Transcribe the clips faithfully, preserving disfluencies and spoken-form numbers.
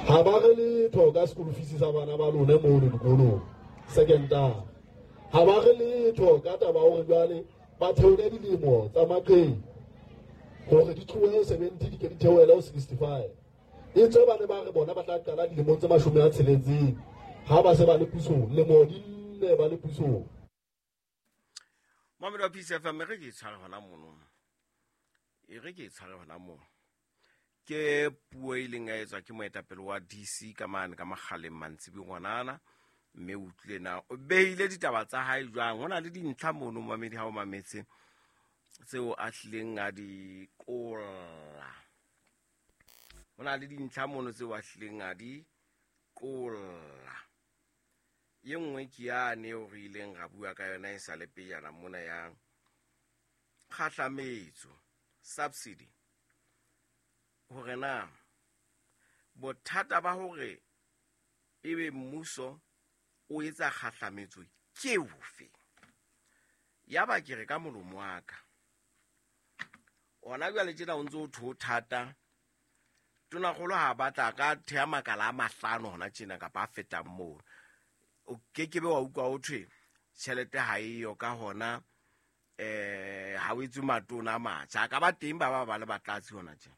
Ha ba re letho ka school fees sa bana ba lona mono dikolong secondary. Ha ba re letho ka taba hore jwale ba theole dilemo tsa maqheku hore di tlohe seventy di ke di theohele ho sixty-five. E tswe ba ne ba re bona ba tla qala dilemong tse mashome a tsheletseng ha ba se ba le pusong, lemo di nne ba le pusong. Mamelo wa P C F M, re ke tshware hona mono. E re ke tshware hona mono. Ke puo e leng ya etswa ke moetapele wa D C ka mane ka Makgaleng mantsibi ngwanana, mme o utlwile na o behile ditaba tsa hae jwang. Ho na le dintlha mono mamedi ha o mametse tseo a hlileng a di qolla. Ho na le dintlha mono tseo a hlileng a di qolla. Ye nngwe ke yane eo re ileng ra bua ka yona e sa le pejana mona ya kgahlametso, subsidy. Hore na bothata ba hore ebe mmuso o etsa kgahlametso ke bofe? Yaba ke re ka molomo wa ka, ona jwale tjena o ntso o tho thata. Tonakgolo ha batla ka thea makala a mahlano hona tjena kapa a fetang moo. O ke ke be wa utlwa ho thwe tjhelete ha eyo ka hona, eh, ha o etswe matona a matjha. A ka ba teng ba ba ba le batlatsi hona tjena.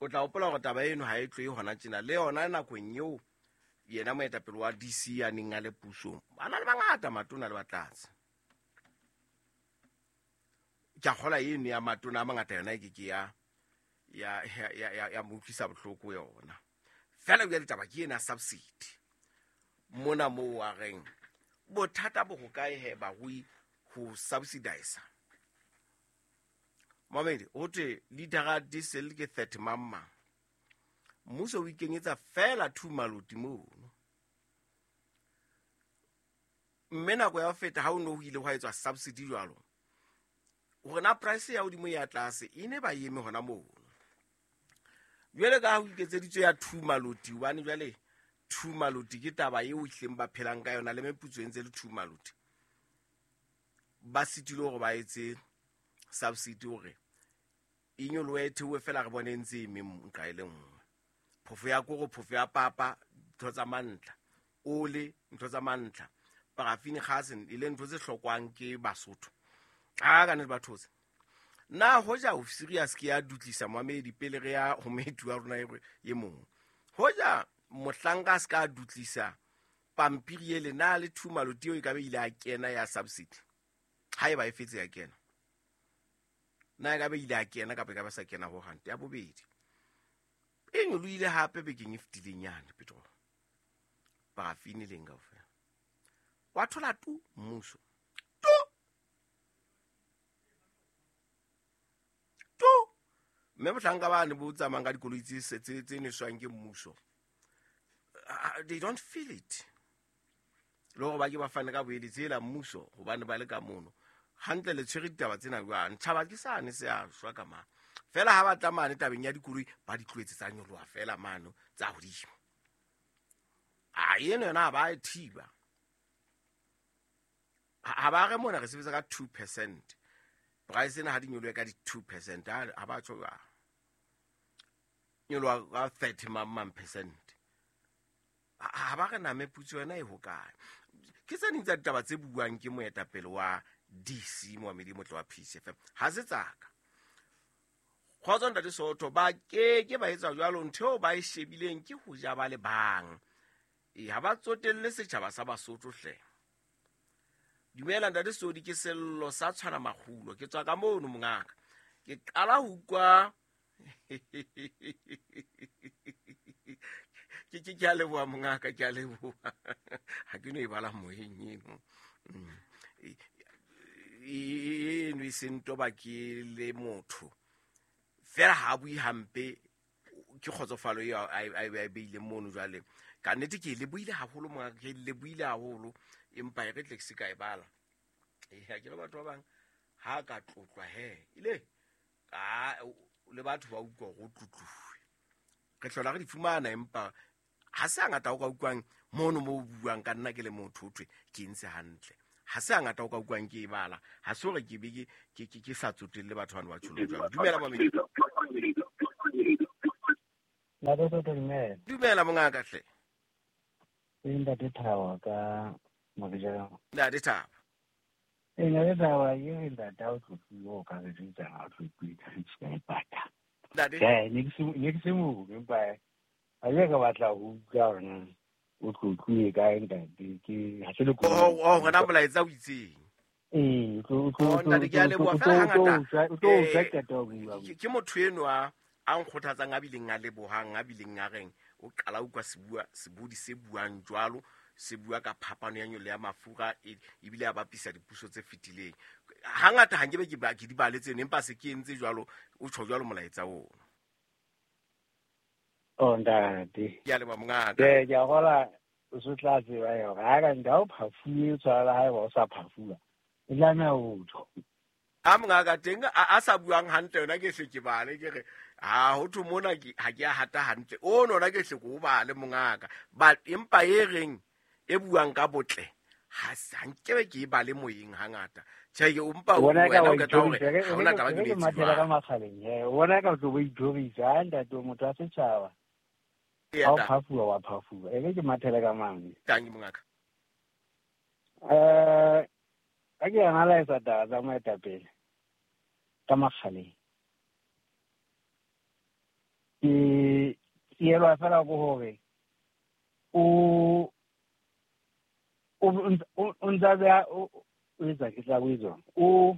O tla hopola hore taba eno ha e tlohe hona tjena. Le yona nakong eo yena moetapele wa D C a neng a le pusong, ba na le bangata matona le batlatsi. Ke a kgolwa eno ya matona a mangata yona e ke ke ya, ya, ya, ya, ya, ya mo utlwisa bohloko yona. Feela jwale taba ke ena subsidy. Mona moo a reng bothata bo hokae he barui ho subsidize. Mamedi, ho thwe litara diesel ke thirty mamma. Mmuso o ikenyetsa feela two maloti mono. Mme nako ya ho feta ha o no ho ile hwa etswa subsidy jwalo, hore na price ya hodimo ya tlase e ne ba eme hona mono. Jwale ka ha ho iketseditswe ya two maloti, hobane jwale two maloti ke taba eo ehlileng ba phelang ka yona le meputso e ntse le two maloti. Ba sitilwe hore ba etse subsidy hore e nyolohe e theohe feela re bone e ntse e eme nqa e le nngwe. Phofo ya koro, phofo ya papa, ntho tsa mantlha, ole, ntho tsa mantlha, paraffin gas e le ntho tse hlokwang ke Basotho. A ka nnete ba thotse. Na hoja o serious ke ya dutlisa mamedi pele re ya ho moeti wa rona e mong. Hoja mohlanka a se ka dutlisa pampiri ele na le two maloti eo e ka be ile a kena ya subsidy. Haeba e fetse ya kena. Na e ka be ile a kena kapa e ka ba sa kena ho hang. Ya bobedi. E nyolohile hape bekeng e fetileng yane petrol. Paraffin e leng kaofela. Wa thola tu mmuso. Tu. Tu. Mme mohlanka ba ne bo tsamayang ka dikoloi tse tse tse neswang ke mmuso. Uh, they don't feel it. Le hore ba ke ba fane ka boeletsi ela mmuso hobane ba le ka mono. Hantle le tshwere ditaba tsena jwang? Tjhaba ke sane se a shwa ka mang. Feela ha ba tla mane tabeng ya dikoloi ba di tlohetse tsa nyoloha feela mano tsa hodimo. A eno yona ha ba e thiba. Ha ba re mona re sebetsa ka two percent. Price ena ha di nyolohe ka di two percent. Ha ba tjho jwang. Nyoloha ka thirty mang percent. Ha ba re na meputso yona e hokae. Ke tse ding tsa ditaba tse buang ke moetapele wa D C Mohamedi Motle wa P C F M. Ha se tsaka. Kgotso ntate Soto, ba ke ke ba etsa jwalo, ntho eo ba e shebileng ke ho ja ba le bang. E ha ba tsotelle setjhaba sa Basotho hle. Dumela ntate Sodi, ke sello sa tshwana makgulo. Ke tswa ka mono mongaka. Ke qala ho utlwa ke ke ke a leboha mongaka, ke a leboha. Ha ke no e bala moyeng eno. Eno e se ntoba ke le motho. Fela ha bue hampe ke kgotsofalo eo a e beileng mono jwale. Ka nnete ke e lebohile haholo mongaka, ke e lebohile haholo, empa e re tle ke se ka e bala. Eh, ha ke le batho ba bang ha ka tlotlwa he. Ile ka le batho ba utlwa go tlotluwe. Re hlola re di fumana, empa ha se hangata o ka utlwang mono mo o buang ka nna ke le motho ho thwe ke ntse hantle. Ha se hangata o ka utlwang ke e bala. Ha se hore ke be ke, ke, ke, ke sa tsotelle batho bana ba tjholo jwalo. Dumela mamedi. Ntate Soto, dumela. Dumela mongaka hle. Ke ntate Thabo ka Mabejana. Ntate Thabo. E ntate Thabo, ke re ntate o tlotluwe o ka re jwetsa ha o tlotluwe ka re tshika e pata. Ntate. Tjhe, ne ke se ne ke se mo empa a ke ka batla ho utlwa hore na o tlotluwe kae ntate, ke ha se le Oh, oh, hona molaetsa o itseng. Ee, o tlo Oh, ntate ke a leboha fela hangata. O tlo utlwa qeta ho bua. Ke motho enwa a nkgothatsang a bileng a lebohang a bileng a reng o qala utlwa sebua sebodi se buang jwalo se bua ka phapano ya nyolo ya mafura ebile a bapisa dipuso tse fetileng. Hangata ha nkebe ke ba ke di bale tseno empa se ke entse jwalo o tjho jwalo molaetsa ono. Oh ntate. Ke a leboha mongaka. Ke ke a hola o se tla tseba hore ha ka nka o phafuwe tshwara ha eba o sa phafuwa. E tlameha ho tjho. A mongaka teng a sa buang hantle yona ke hle ke bale ke re ha ho thwe mona ke ha ke a hata hantle o nona ke hle ke o bale mongaka but empa e reng e buang ka botle ha sa nkebe ke e bale moyeng hangata tjhe ke o mpa o wena o qeta hore ha hona taba ke le mathela ka makgaleng he o bona ka tlo bo ithorisa ha ntate motho wa setjhaba ha o phafuwa wa phafuwa e ke mathela ka mang tangi mongaka eh ka ke analyze taba tsa moetapele ka makgaleng ke tsielwa fela ko hore o o ntsa beha o etsa ke tla bo etsang o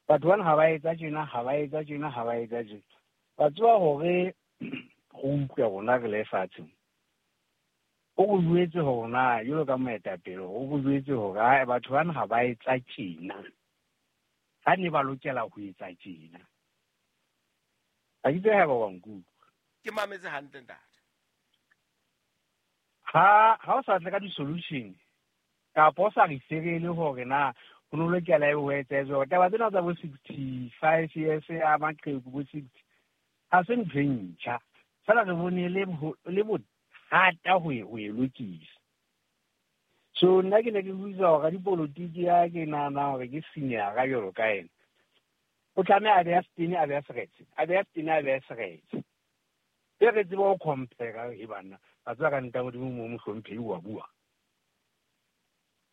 batho bana ha ba etsa tjena ha ba etsa tjena ha ba etsa tjena ba tseba hore go utlwa rona re le fatshe o go jwetse hore na jwalo ka moetapele o go jwetse hore ha batho bana ha ba etsa tjena ha ne ba lokela ho etsa tjena ha ke tsebe ha ba wa nkutlwa ke mametse hantle ntate ha ha o sa tle ka di-solution kapa o sa re serele hore na ho no lokela e ho etsetswe hore taba tsena tsa bo sixty-five years a maqheku bo sixty ha se ntho e ntjha fela re bone le le bothata ho e ho e lokisa. So nna ke ne ke buisa hore dipolotiki ya ke nahana hore ke senior ka jwalo ka ena o tlameha a beha setene a beha seretse a beha setene a beha seretse e re tsebe ho compare e banna ba tswa ka nta modimo mo mohlomphehi wa bua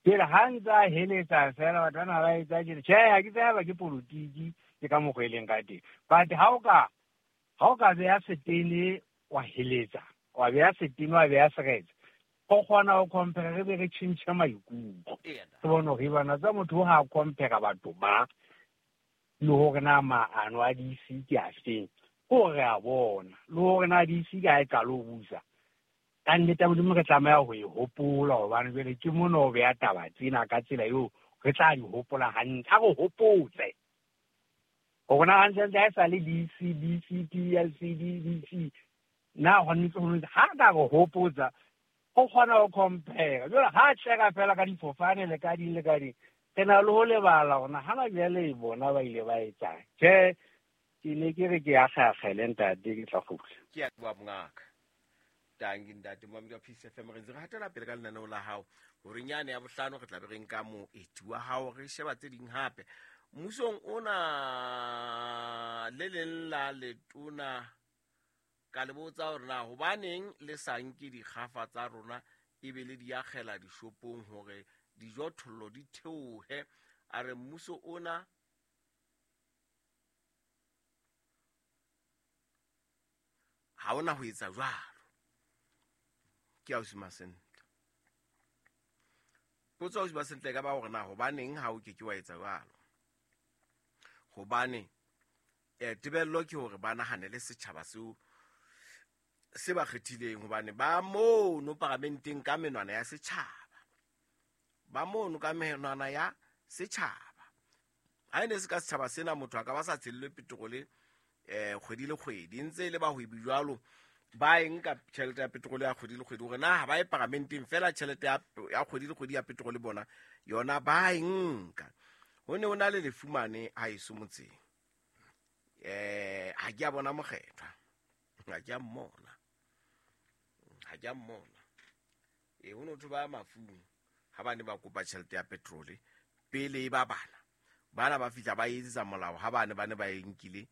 pele ha ntse a heletsa fela batho bana ba etsa tjena tjhe ha ke tseba ke politiki ke ka mokgwa e leng ka teng but ha o ka ha o ka beha setene wa heletsa wa beha setene wa beha seretse o kgona ho compare re be re tjhentjhe maikutlo re bone hore bana tsa motho ha compare batho ba le hore na maano a D C ke a feng hore a bona le hore na D C ka e qala ho busa ka nnete modimo re tlameha ho e hopola hobane jwale ke mona o beha taba tsena ka tsela eo re tla di hopola hantle a re hopotse hore na hantle ha e sa le D C D C P L C D D C na ho ntse ho ha ka re hopotsa o kgona ho compare jwale ha tsheka fela ka difofane le ka di le ka di re na le ho lebala hore hana jwale bona ba ile ba etsang tjhe ke ne ke re ke a kgakgele ntate ke tla kgutla ke a bua mongaka tangi ntate momedi wa Peace F M re ntse re hatela pele ka lenaneo la hao hore nyane ya bohlano re tla be re nka moeti wa hao re sheba tse ding hape mmusong ona le leng la letona ka le botsa hore na hobaneng le sa nke dikgafa tsa rona ebe le di akgela dishopong hore dijothollo di theohe a re mmuso ona ha ona ho etsa jwalo ke ausi Masentle potso ausi Masentle ka ba hore na hobaneng ha o ke ke wa etsa jwalo hobane eh tebello ke hore ba nahanele setjhaba seo se ba kgethileng hobane ba mono paramenteng ka menwana ya setjhaba ba mono ka menwana ya setjhaba ha ene se ka setjhaba sena motho a ka ba sa tshellwe petrole eh kgwedi le kgwedi ntse le bahwebi jwalo ba eng ka tjhelete ya petrole ya kgwedi le kgwedi hore na ha ba e paramenteng fela tjhelete ya ya kgwedi le kgwedi ya petrole bona yona ba eng ka ho ne ho na le lefumane ha eso motseng eh ha ke a bona mokgethwa ha ke a mmona ha ke a mmona e ho no thwe ba mafung ha ba ne ba kopa tjhelete ya petrole pele e ba bana bana ba fihla ba etsetsa molao ha bane ba ne ba e nkile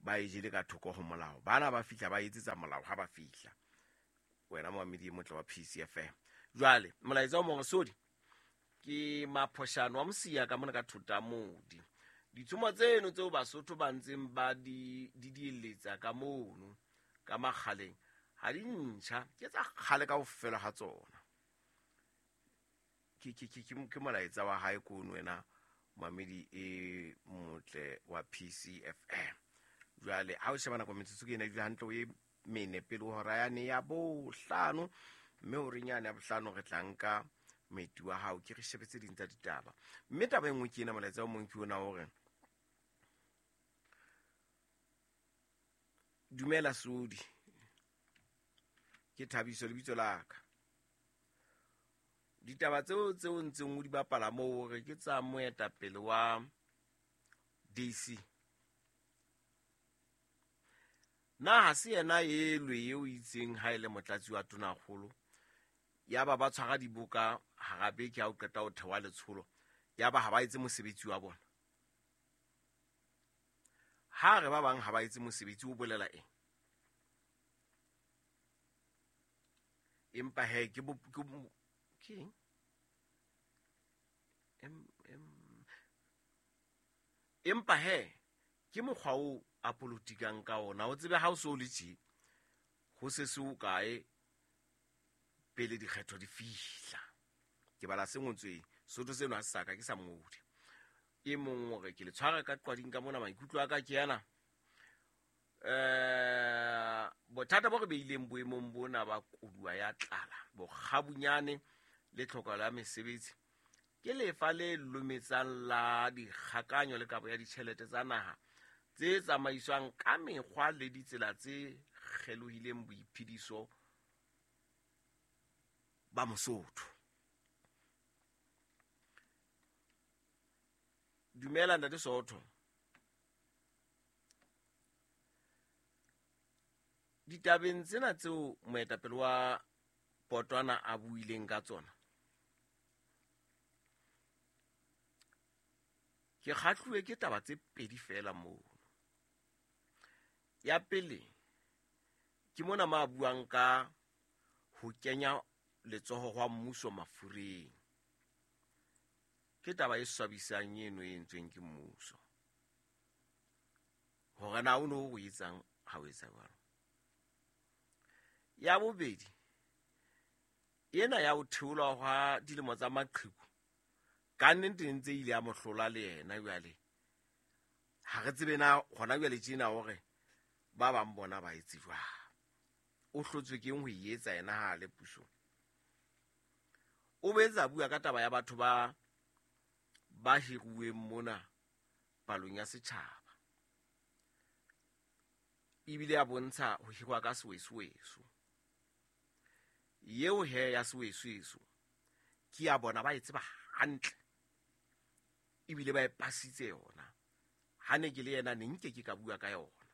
Ba e jele ka thoko ho molao. Bana ba fihla ba etsetsa molao ha ba fihla. Wena momamedi e motle wa P C F M. Jwale molaetsa o mong sodi ke maphoshano wa Mosia ka mona ka thota modi. Ditshomo tseno tseo Basotho ba ntseng ba di di dieletsa ka mono ka makgaleng ha di ntjha, ke tsa kgale kaofela ha tsona. Ke ke ke ke molaetsa wa hae kono wena momamedi e motle wa P C F M. Jwale ha o sheba nako metsotso ke ena e dula hantle o e mene pele ho hora yane ya bohlano, mme horeng yane ya bohlano re tla nka moeti wa hao ke re shebe tse ding tsa ditaba. Mme taba e nngwe ke ena, molaetsa o mong ke ona hore dumela Sodi, ke Thabiso lebitso la ka. Ditaba tseo tseo ntseng o di bapala moo hore ke tsa moetapele wa D C. Na ha se yena elwe eo itseng ha ele motlatsi wa tonakgolo, ya ba ba tshwara diboka hara beke ha o qeta ho thewa letsholo, ya ba ha ba etse mosebetsi wa bona. Ha re ba bang ha ba etse mosebetsi o bolela eng? Empa he ke bo ke eng? Em em empa he ke mokgwa o a politikang ka ona. O tsebe ha o so le tje ho se se o kae pele dikgetho di fihla. Ke bala se ngotsweng Sotho seno ha se sa ka ke sa mongodi. E mong hore ke le tshwara ka qwading ka mona, maikutlo a ka ke yana. Eh bothata bo re beileng boemong bona ba koduwa ya tlala, bokgabunyane le tlhoko la mesebetsi ke lefa le lometsang la dikgakanyo le kabo ya ditjhelete tsa naha tse tsamaiswang ka mekgwa le ditsela tse kgelohileng boiphediso ba Mosotho. Dumela ntate Sotho. Ditabeng tsena tseo moetapele wa Potwana a buileng ka tsona, ke kgahluwe ke taba tse pedi fela moo. Ya pele ke mona ma buang ka ho kenya letsoho hwa mmuso mafureng. Ke taba e swabisang eno e entsweng ke mmuso. Hore na o no o etsang ha o etsa jwalo. Ya bobedi ena ya ho theolwa hwa dilemo tsa maqheku ka nnete ntse ile ya mohlola le yena jwale. Ha re tsebe na hona jwale tjena hore ba bang bona ba etse jwang. O hlotswe ke eng ho e etsa yena ha le pusong. O boetse a bua ka taba ya batho ba ba hiruweng mona palong ya setjhaba. Ebile a bontsha ho hirwa ka sewesoweso. Yeo he ya sewesoweso ke ya bona ba e tseba hantle. Ebile ba e pasitse yona. Ha ne ke le yena ne nke ke ka bua ka yona.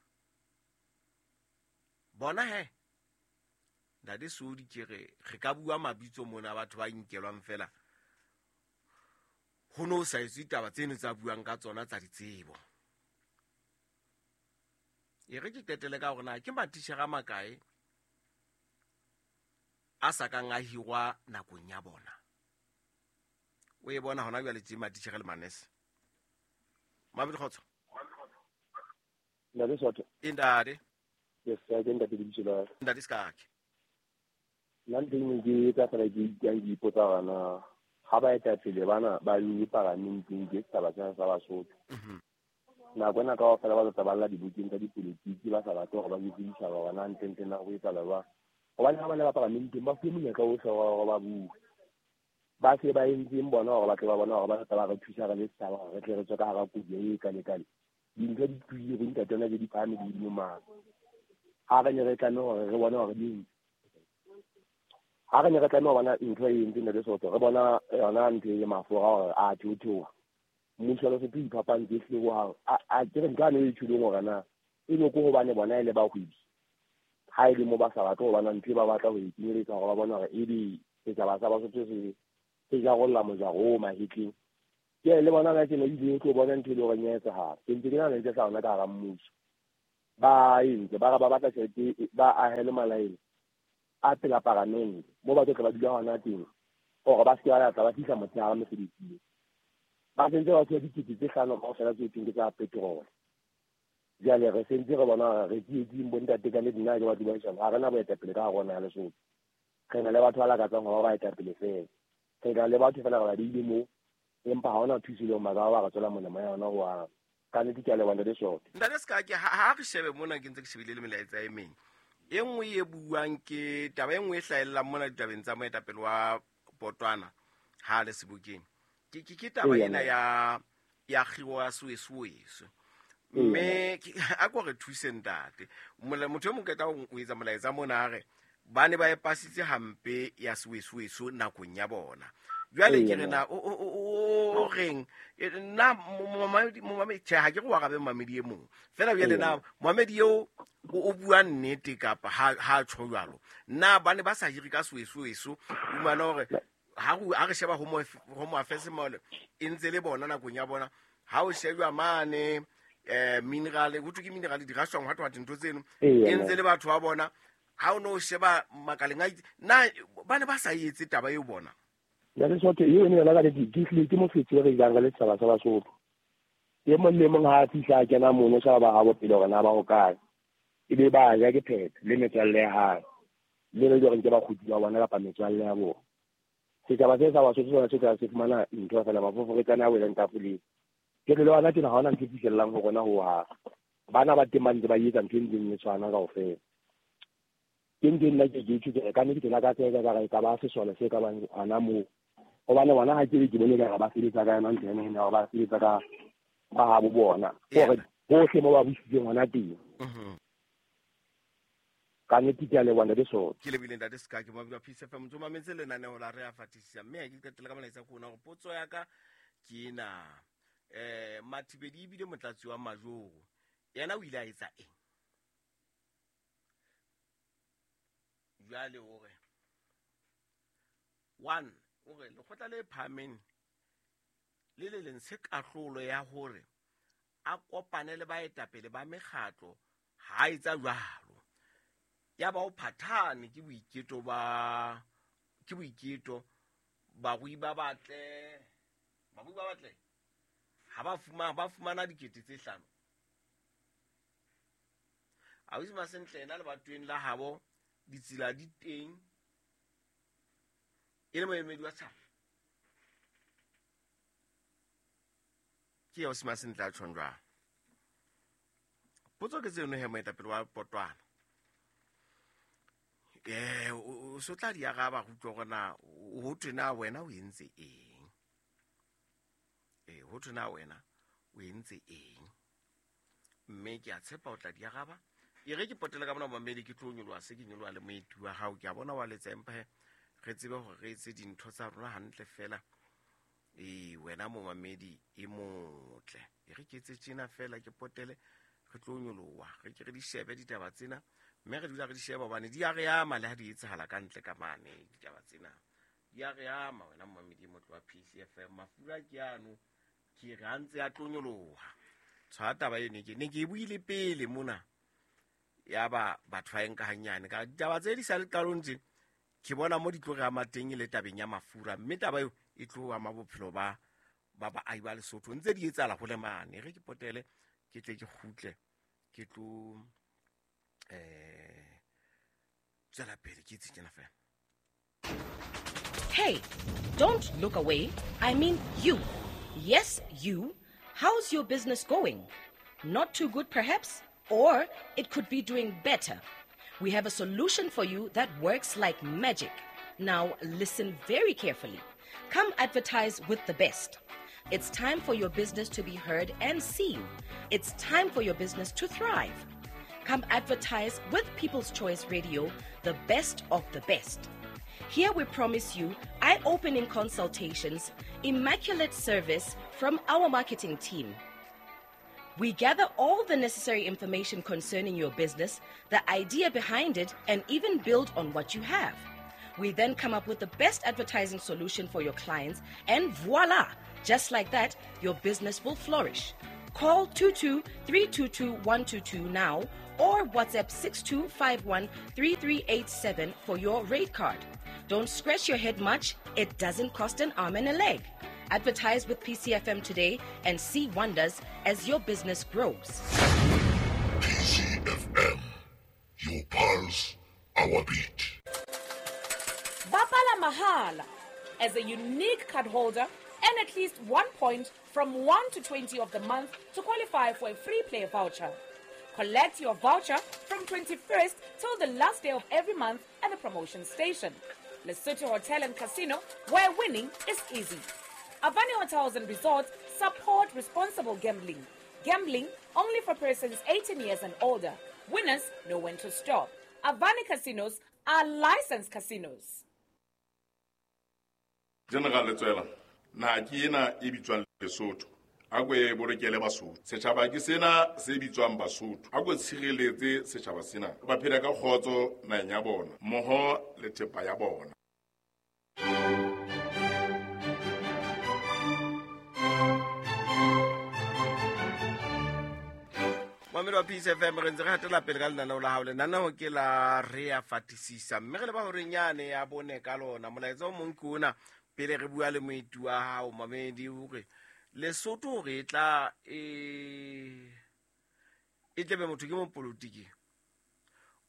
Bona he ntate Sodi ke re re ka bua mabitso mona batho ba nkelwang fela. Ho no sa etswe ditaba tseno tsa buang ka tsona tsa ditsebo. E re ke qetele ka hore na ke matitjhere a makae a sa kang a hirwa nakong ya bona. O e bona hona jwale tje matitjhere le manese. Mabedi kgotso. Ntate Sotho. Ntate. Yes, ke ntate lebitso la. Ntate Skake. Nna nteng ke tsa fela ke ke ipotsa bana ha ba etapele bana ba le paramenteng ke setjhaba sena sa Basotho. Nako ena kaofela ba tla balla dibukeng tsa dipolitiki ba sa batle hore ba jwetse ditjhaba hore na ntle na ho etsahala jwang. Hobane ha ba ne ba paramenteng ba fuwe monyetla ohle wa hore ba bue. Ba se ba entseng bona hore ba tle ba bona hore ba tla ba re thusa re le setjhaba hore re tle re tswe ka hara koduwa e kalekale. Dintho di tlohile bo ntate ona di phahame di hodimo mane. Ha re ne re tlameha hore re bone hore di ha re ne re tlameha ho bona ntho e entseng ntate Sotho, re bona yona ntho e mafura hore a theotheoha. Mmuso wa Lesotho o iphapantse ehlile hohang. A ke re ntho ane e tjholeng hore na ebe ke hobane bona e le bahwebi. Ha e le mo ba sa batle ho bona ntho e ba batla ho e kenyeletsa hore ba bone hore ebe setjhaba sa Basotho se se jarolla mojaro o mahetleng. Ke le bona ka tsena ebile o tlo bona ntho e le horeng ya etsahala. Ke ntse ke nahana e tla yona ka hara mmuso. Ba entse ba re ba batla tjhelete ba ahele malaene a pela paramente mo ba tlo ba dula hona teng hore ba se ke ba tla ba fihla motshehare mesebetsing. Ba sentse ba tshwere dikete tse hlano kaofela tse thweng ke tsa petrol. Jwale re sentse re bona re tsietsing bo ntate ka nnete nna ke batho ba jwang ha re na boetapele ka hare ho naha ya Lesotho. Re na le batho ba lakatsang ho ba baetapele feela. Re na le batho feela re ba beile moo empa ha hona thuso e leng ba ka ba re tswela molemo ya yona hohang. Ka nnete ke a leboha ntate Soto. Ntate Sekake, ha re shebe mona ke ntse ke shebile le melaetsa e meng. E nngwe e buang ke taba e nngwe e hlahellang mona ditabeng tsa moetapele wa Potwana ha le sebokeng. Ke ke ke taba ena ya ya kgiro ya Soweso. Mme a ko re thuse ntate. Motho e mong qeta o etsa molaetsa mona a re ba ne ba e pasitse hampe ya Soweso nakong ya bona. Jwale ke re na o o reng nna momamedi momamedi tjhe ha ke re wa rabe momamedi e mong fela jwale na momamedi eo o bua nnete kapa ha ha tjho jwalo nna ba ne ba sa hire ka Soweso o mana hore ha re ha re sheba home home affairs mole e ntse le bona nakong ya bona ha o shejwa mane eh mineral ho thwe ke mineral di rashwang hwa thwa dintho tseno e ntse le batho ba bona ha o no sheba makaleng a na ba ne ba sa etse taba eo bona. Ntate Soto eo ne yona ka nnete ke hlile ke mofetsi re jang ka le setjhaba sa Basotho. E mong le mong ha a fihla a kena mono shaba ba habo pele hore na ba hokae. Ebe ba ja ke phetho le metswalle ya hae. Le le hore ke bakgotsi ba bona kapa metswalle ya bona. Setjhaba se sa Basotho sona se tla se fumana ntho fela mafoforetsane a welang tafoleng. Ke re le wena tjena ha hona ntho e fihlellang ho rona hohang. Bana ba teng ba ntse ba etsa ntho e ntseng e tshwana kaofela. Ke ntho e nna ke ke itjhutse ka nnete ke lakatsa ka re ka ba sesole se ka bang hona moo. Hobane bona ha ke ke bone ka ba sebetsa ka yona ntho ena ena ba sebetsa ka ba habo bona hore bohle mo ba busitseng hona teng. Ka nnete ke a leboha ntate Soto. Ke lebile ntate Sekake mo bua Peace F M ntse mametse lenaneo la re a fatisisa mme ke qetela ka molaetsa ko ona hore potso ya ka ke ena eh Mathibedi ebile motlatsi wa Majoro yena o ile a etsa eng jwale hore one hore lekgotla le phahameng le le leng se kahlolo ya hore a kopane le baetapele ba mekgatlo ha etsa jwalo ya ba o phathane ke boiketo ba ke boiketo barui ba batle barui ba batle ha ba fumana ba fumana dikete tse hlano a o Masentle ena le batweng la habo ditsela di teng e le moemedi wa setjhaba ke ya o Masentle a tjhong jwang potso ke tseno he moetapele wa Potwana eh o so tla di araba go utlwa hore na ho thwe na wena o entse eng eh ho thwe na wena o entse eng mme ke a tshepa o tla di araba e re ke potele ka bona mamedi ke tlo nyoloha se ke nyoloha le moeti wa hao ke a bona wa letsa empa he re tsebe hore re etse dintho tsa rona hantle fela e wena momamedi e motle e re ke etse tjena fela ke potele re tlo nyoloha re ke re di shebe ditaba tsena mme re dula re di sheba hobane di a re ama le ha di etsahala ka ntle ka mane ditaba tsena di a re ama wena momamedi e motle wa P C F M mafura ke ano ke re a ntse a tlo nyoloha tshwa taba eno ke ne ke e buile pele mona ya ba batho ba enka hanyane ka ditaba tse di sa le qalong tje ke bona mo di tlo re ama teng le tabeng ya mafura mme taba eo e tlo ama bophelo ba ba baahi ba Lesotho ntse di etsahala ho le mane re ke potele ke tle ke kgutle ke tlo eh tswela pele ke itse tjena fela. Hey, don't look away. I mean you. Yes, you. How's your business going? Not too good perhaps? Or it could be doing better. We have a solution for you that works like magic. Now listen very carefully. Come advertise with the best. It's time for your business to be heard and seen. It's time for your business to thrive. Come advertise with People's Choice Radio, the best of the best. Here we promise you eye-opening consultations, immaculate service from our marketing team. We gather all the necessary information concerning your business, the idea behind it, and even build on what you have. We then come up with the best advertising solution for your clients, and voila! Just like that, your business will flourish. Call two two three two two one two two now or WhatsApp six two five one three three eight seven for your rate card. Don't scratch your head much. It doesn't cost an arm and a leg. Advertise with P C F M today and see wonders as your business grows. P C F M, your pulse, our beat. Bapala Mahala. As a unique card holder, earn at least one point from one to twenty of the month to qualify for a free play voucher. Collect your voucher from twenty-first till the last day of every month at the promotion station. Lesotho Hotel and Casino, where winning is easy. Avani Hotels and Resorts support responsible gambling. Gambling only for persons eighteen years and older. Winners know when to stop. Avani Casinos are licensed casinos. General Letsoela, na ke ena e bitswang Lesotho. A ko e bolokele Basotho. Setjhaba ke sena se bitswang Basotho. A ko tshireletse setjhaba sena. Ba phela ka kgotso naheng ya bona, mmoho le thepa ya bona. Mamedi wa P C F M, re ntse re hatela pele ka lenaneo la hao. Lenaneo ke la Re a Fatisisa, mme re leba horeng yane ya bone ka lona. Molaetsa o mong ke ona pele re bua le moeti wa hao, mamedi, hore Lesotho re tla e e tlebe motho ke mopolotiki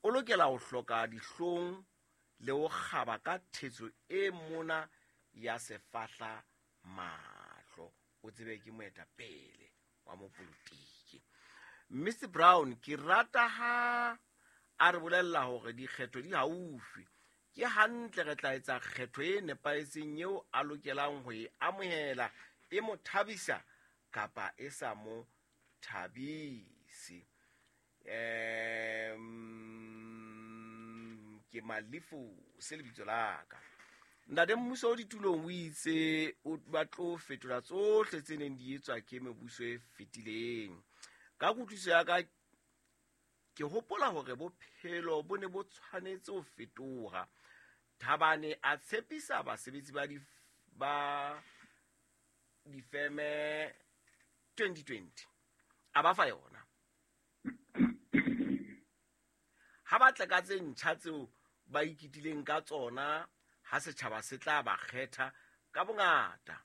o lokela ho hloka dihlong le ho kgaba ka thetso e mona ya sefahla mahlo, o tsebe ke moetapele wa mopolotiki. Mister Brown, ke rata ha a re bolella hore dikgetho di haufi. Ke hantle re tla etsa kgetho e nepahetseng eo a lokelang ho e amohela, e mo thabisa kapa e sa mo thabise. Em ke Malefu se lebitso la ka. Ntate mmuso o ditulong o itse o ba tlo fetola tsohle tse neng di etswa ke mebuso e fetileng. Ka kutlwisiso ya ka ke hopola hore bophelo bo ne bo tshwanetse ho fetoha. Thabane a tshepisa basebetsi ba di ba difeme twenty twenty a ba fa yona. Ha ba tla ka tse ntjha tseo ba ikitileng ka tsona, ha setjhaba se tla ba kgetha ka bongata.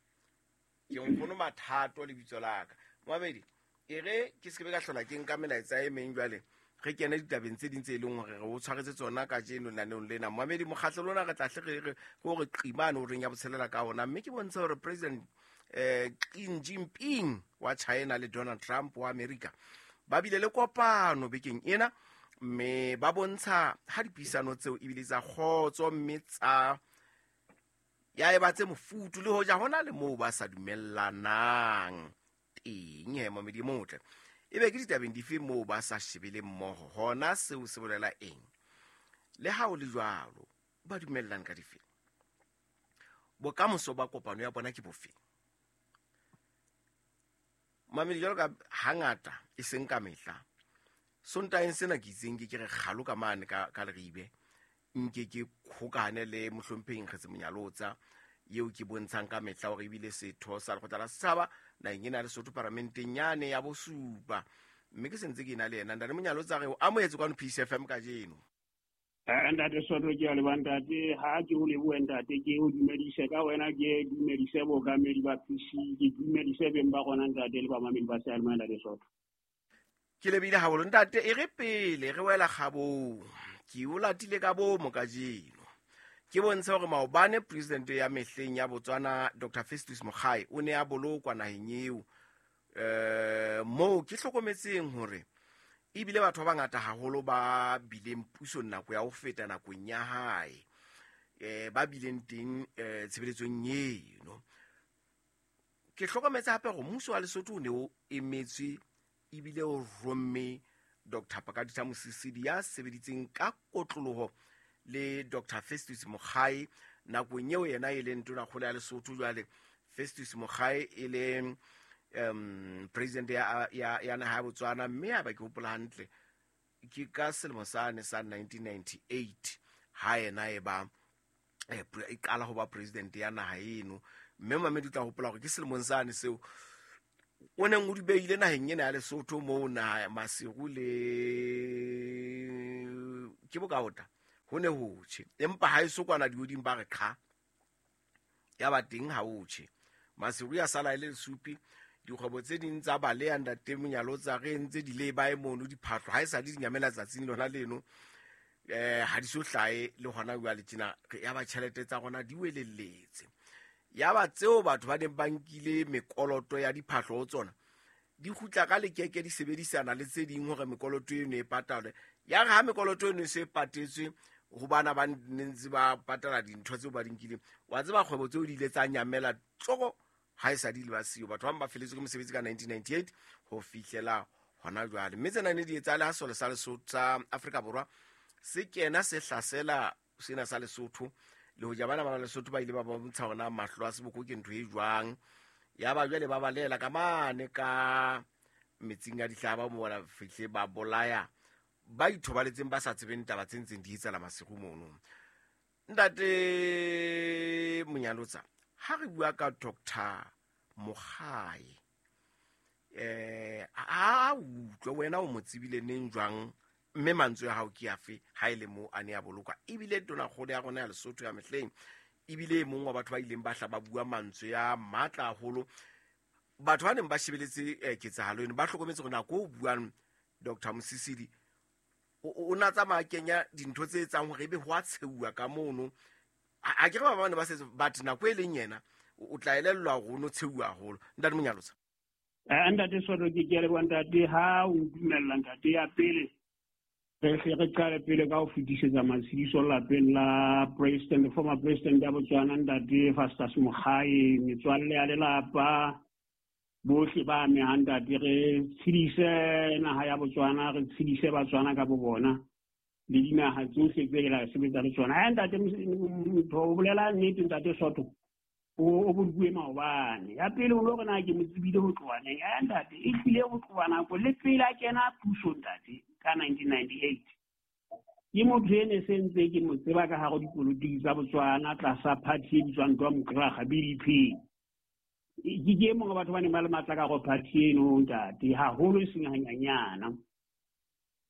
Ke nkgono Mathato lebitso la ka. Mamedi, e re ke se ke be ka hlola ke nka melaetsa e meng jwale, re kene ditabeng tse ding tse leng hore re o tshwaretse tsona kajeno lenaneong lena. Mamedi, mokgatlo lona re tla hle re re hore qimane o reng ya botshelela ka ona, mme ke bontsha hore President eh Xi Jinping wa China le Donald Trump wa America ba bile le kopano bekeng ena, mme ba bontsha ha dipuisano tseo ebile tsa kgotso, mme tsa ya eba tse mofutu le hoja hona le moo ba sa dumellanang teng. He mamedi motle, ebe ke ditabeng dife moo ba sa shebele mmoho, hona seo se bolela eng? Le ha o le jwalo, ba dumellana ka dife? Bokamoso ba kopano ya bona ke bofe? Mamedi, jwalo ka hangata e seng ka mehla, Sontaeng sena ke itseng ke ke re kgalo ka mane ka ka Leribe, nke ke khokane le mohlomphehi Nkgetse Monyalotsa eo ke bontshang ka mehla hore ebile setho sa lekgotla la setjhaba naheng ena ya Lesotho paramenteng yane ya bosupa, mme ke sentse ke na le yena. Ntate Monyalotsa, re o amohetse kwano P C F M kajeno. Ntate Soto, ke a leboha ntate. Ha ke o lebohe ntate, ke o dumedise ka wena, ke dumedise bookamedi ba P C, ke dumedise beng ba rona ntate le bamamedi ba seyalemoya ntate Soto. Ke lebile haholo ntate. E re pele re wela kgabong, ke o latile ka bomo kajeno. Ke bontshe hore maobane president ya mehleng ya Botswana Doctor Festus Mogae o ne a bolokwa naheng eo, eh moo ke hlokometseng hore ebile batho ba bangata haholo ba bileng pusong nako ya ho feta nakong ya hae, eh ba bileng teng eh tshebeletsong eno. Ke hlokometse hape hore mmuso wa Lesotho o ne o emetswe ebile o romme Doctor Pakaditha Mosisili ya sebeditseng ka kotloloho le Doctor Festus Mogae nakong eo yena e leng tonakgolo ya Lesotho. Jwale Festus Mogae e le um president ya ya ya naha ya Botswana, mme a ba ke hopola hantle ke ka selemo sane sa nineteen ninety-eight ha yena e ba e qala ho ba president ya naha eno. Mme mamedi o tla hopola hore ke selemong sane seo o neng o di beile naheng ena ya Lesotho moo na Maseru le ke bokaota ho ne ho tjhe empa ha e so kwana dihodimo ba re qha ya ba teng ha o tjhe Maseru ya sala ile lesupi dikgwebo tse ding tsa baleya ntate Monyalotsa re ntse di le ba e mono diphahlo ha e sa di nyamela tsatsing lona leno eh ha di so hlae le hona jwale tjena ya ba tjhelete tsa rona di welelletse ya ba tseo batho ba neng ba nkile mekoloto ya diphahlo ho tsona di kgutla ka lekeke di sebedisana le tse ding hore mekoloto eno e patalwe ya re ha mekoloto eno e se patetswe ho bana ba ntse ba patala dintho tseo ba di nkileng wa tseba kgwebo tseo di ile tsa nyamela tsoko ha e sa di le ba siyo batho ba ba feletswe ke mosebetsi ka nineteen ninety-eight ho fihlela hona jwale mme tsena ne di etsahale ha sole sa Lesotho sa Afrika Borwa se kena se hlasela sena sa Lesotho le hoja bana ba Lesotho ba ile ba bontsha hona mahlo a seboko ke ntho e jwang ya ba jwale ba balela ka mane ka metsing a dihlaba mo bona fihle ba bolaya ba ithobaletseng ba sa tsebeng taba tse ntseng di etsala Maseru mono ntate Monyalotsa ha re bua ka Doctor Mogae eh a utlwe wena o mo tsebile neng jwang mme mantswe ya hao ke afe ha ile mo a ne a bolokwa ebile tonakgolo ya rona ya Lesotho ya mehleng ebile e mong wa batho ba ileng ba hla ba bua mantswe ya matla haholo batho ba neng ba shebeletse ketsahalo eno ba hlokometse hore nako o buang Doctor Mosisili o na tsamaya kenya dintho tse etsang hore ebe ho a tsheuwa ka mono a ke re ba bane ba setse but nako e leng yena o tla elellwa hore o no tsheuwa haholo ntate Monyalotsa eh ntate Soto ke ke leboha ntate ha o ntumella ntate ya pele re hle re qale pele ka ho fetisetsa matshidiso lapeng la president former president ya Botswana ntate Festus Mogae metswalle ya lelapa bohle ba amehang ntate re tshedise naha ya Botswana re tshedise Batswana ka bo bona le dinaha tsohle tse la sebetsa le tsona ha ntate motho o bolela nnete ntate Soto o boluwe maobane ya pele o lo re na ke mo tsebile ho tloha neng ya ntate e hlile ho tloha nako le pele a kena puso ntate ka nineteen ninety-eight ke motho ene se ntse ke mo tseba ka hare dipolotiki tsa Botswana tlasa party e bitswang Domkraga B D P ke ke mongwe batho ba neng ba le matla ka go party eno ntate haholo e seng hanyanyana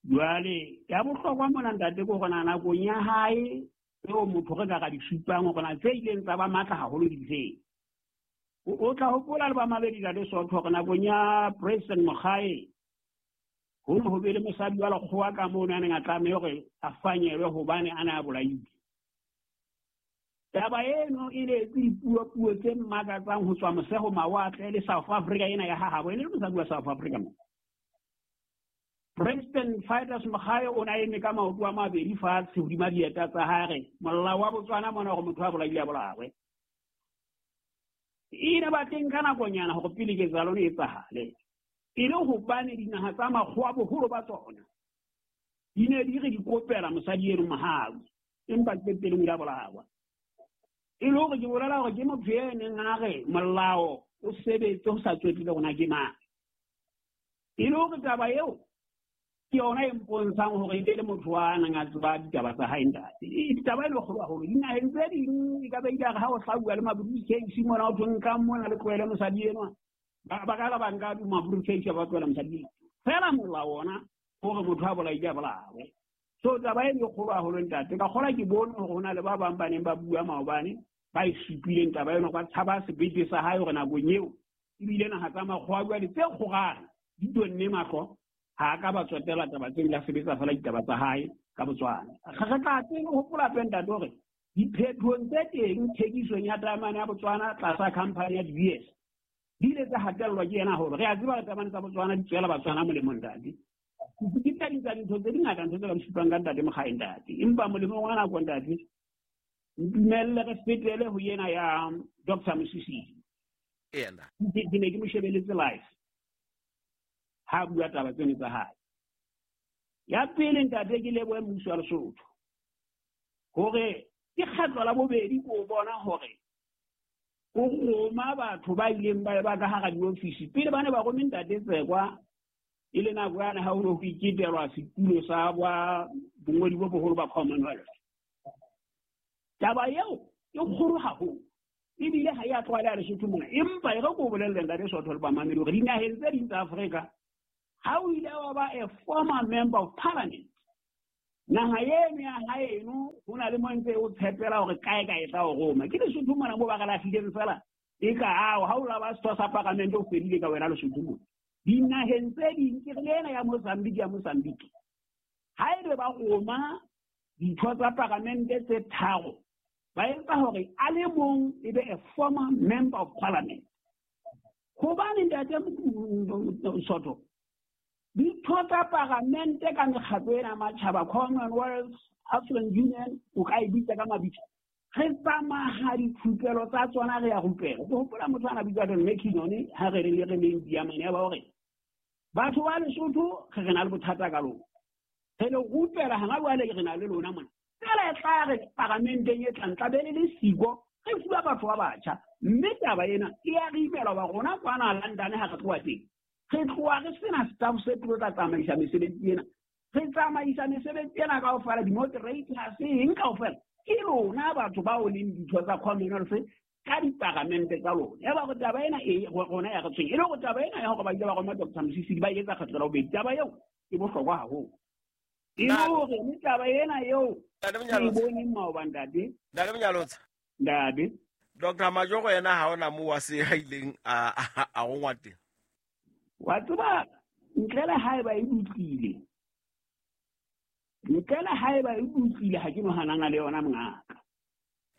jwale ya bohlokwa mona ntate ke hore nakong ya hae eo motho re ka ra di supang hore na tse ileng tsa ba matla haholo di feng o tla hopola le ba mabedi ntate Soto hore nakong ya President Mogae ho ne ho be le mosadi wa lekgowa ka mono a neng a tlameha hore a fanyelwe hobane a ne a bolailwe taba eno e ne etse dipuopuo tse mmakatsang ho tswa moseho mawatle le South Africa ena ya hahabo e ne le mosadi wa South Africa mo President Festus Mogae o ne a eme ka maoto a mabedi fatshe hodima dieta tsa hae molao wa Botswana mona hore motho a bolaile a bolawe e ne ba teng ka nakonyana hore pele ketsahalo e etsahale e le hobane dinaha tsa makgowa boholo ba tsona di ne di re di kopela mosadi eno mohau empa qetellong o ile a bolawa e le hore ke bolela hore ke motho e neng a re molao o sebetse ho sa tswetile hore na ke mang e le hore taba eo ke yona e mpontshang hore e le motho wa nang a tseba ditaba tsa hae ntate ditaba e le kgolo haholo dinaheng tse ding e ka ba ile ha o hlauwa le mabriefcase mona o thong ka mona le tlohele mosadi enwa ba ka la ba nka mabriefcase ba tlohela mosadi fela molao ona hore motho a bolaile a bolawe so taba e le kgolo haholo ntate ka kgola ke bone hore ho na le ba bang ba neng ba bua maobane ba e supileng taba eno ba tshaba sebete sa hae hore nakong eo ebile naha tsa makgowa jwale tse kgorana di tonne mahlo ha ka ba tswetela taba tseo la sebetsa fela ditaba tsa hae ka Botswana re tla teng ho hopola hape ntate hore diphetohong tse teng thekisong ya taemane ya Botswana tlasa company ya D B S di ile tsa hatellwa ke yena hore re a tseba taemane tsa Botswana di tswela Batswana molemo ntate ke tsa dintsa dintho tse dingata ntho tse ka supang ka ntate Mogae ntate empa molemong wa nako ntate ntumelle re fetele ho yena ya Doctor Mosisili ena ke ne ke mo shebeletse live ha bua taba tsene tsa hae ya pele ntate ke lebohe mmuso wa Lesotho hore ke kgetlo la bobedi ko bona hore o roma batho ba ileng ba ba ka hara diofisi pele ba ne ba rome ntate Tsekwa e le nako yane ha ho ne ho iketelwa setulo sa ba bongodi bo boholo ba Commonwealth taba eo e kgolo haholo e Ebile ha ya tlwaela Lesotho mona, empa e re ko bolelle ntate Sotho le bamamedi hore dinaheng tse ding tsa Afrika ha o ile wa ba a former member of parliament, naha eno ya haeno ho na le mo ntse o tshepela hore kae kae tla o roma. Ke Lesotho mona mo ba re lahlileng fela e ka ao ha o la ba setho sa parliament o fedile ka wena Lesotho mona. Dinaheng tse ding ke re le ena ya Mozambique ya Mozambique ha ebe ba roma ditho tsa parliament tse tharo, ba etsa hore a le mong e be a former member of parliament. Hobane ntate Sotho, ditho tsa parliament ka mekgatlo ena matjhaba, Commonwealth, African Union, o ka e bitsa ka mabitso, re tsamaya dithupelo tsa tsona re ya rupela. Ke hopola motho ana bitswa Don McKinnon ha re le re leng Diamane ya ba hore batho ba Lesotho re re na le bothata ka lona, re le rupela hana jwale re na le lona mona. Fela e tla re paramenteng e tlang tla be le le siko re fuwa batho ba batjha, mme taba ena e ya re imela wa rona kwana London ha re tloha teng. Re tloha re sena staff se tlo tla tsamaisa mesebetsi ena, re tsamaisa mesebetsi ena kaofela, di-moderators eng kaofela ke lona batho bao leng ditho tsa Commonwealth ka diparamente tsa lona. Ya ba hore taba ena e rona ya re tshwenya, e le hore taba ena ya hore ba ile ba roma Doctor Mosisili ba etsa kgetho la bobedi, taba eo e bohlokwa haholo. E le hore mme taba ena eo ke e boneng maoba ntate. Ntate Monyalotsa. Ntate. Doctor Majoro yena ha ona moo a se a ileng a a rongwa teng. Wa tseba ntle le haeba e utlwile, ntle le haeba e utlwile ha ke no hanana le yona mongaka.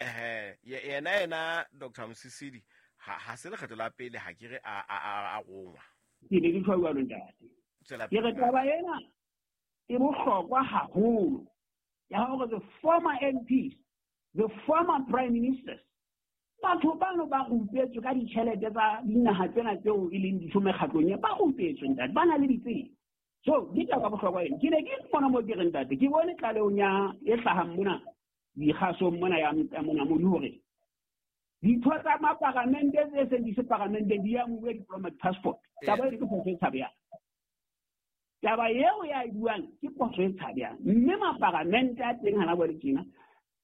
Eh yena yena Doctor Mosisili ha ha se lekgetho la pele ha ke re a a a rongwa. Ke ne ke tjho jwalo ntate. Ke re taba ena e bohlokwa haholo ya hore the former M Ps, the former prime ministers, batho bano ba rupetswe ka ditjhelete tsa dinaha tsena tseo e leng ditho mekgatlong ya ba rupetswe ntate, ba na le ditsela. So ke taba bohlokwa ena. Ke ne ke mona mo ke re ntate, ke bone tlalehong ya e hlahang mona dikgasong mona ya Monamodi hore ditho tsa maparamente tse seng di se paramenteng di amuwe diplomatic passport. Taba eo ke phoso e tshabehang. Taba eo ya e buang ke phoso e tshabehang. Mme maparamente a teng hana jwale tjena,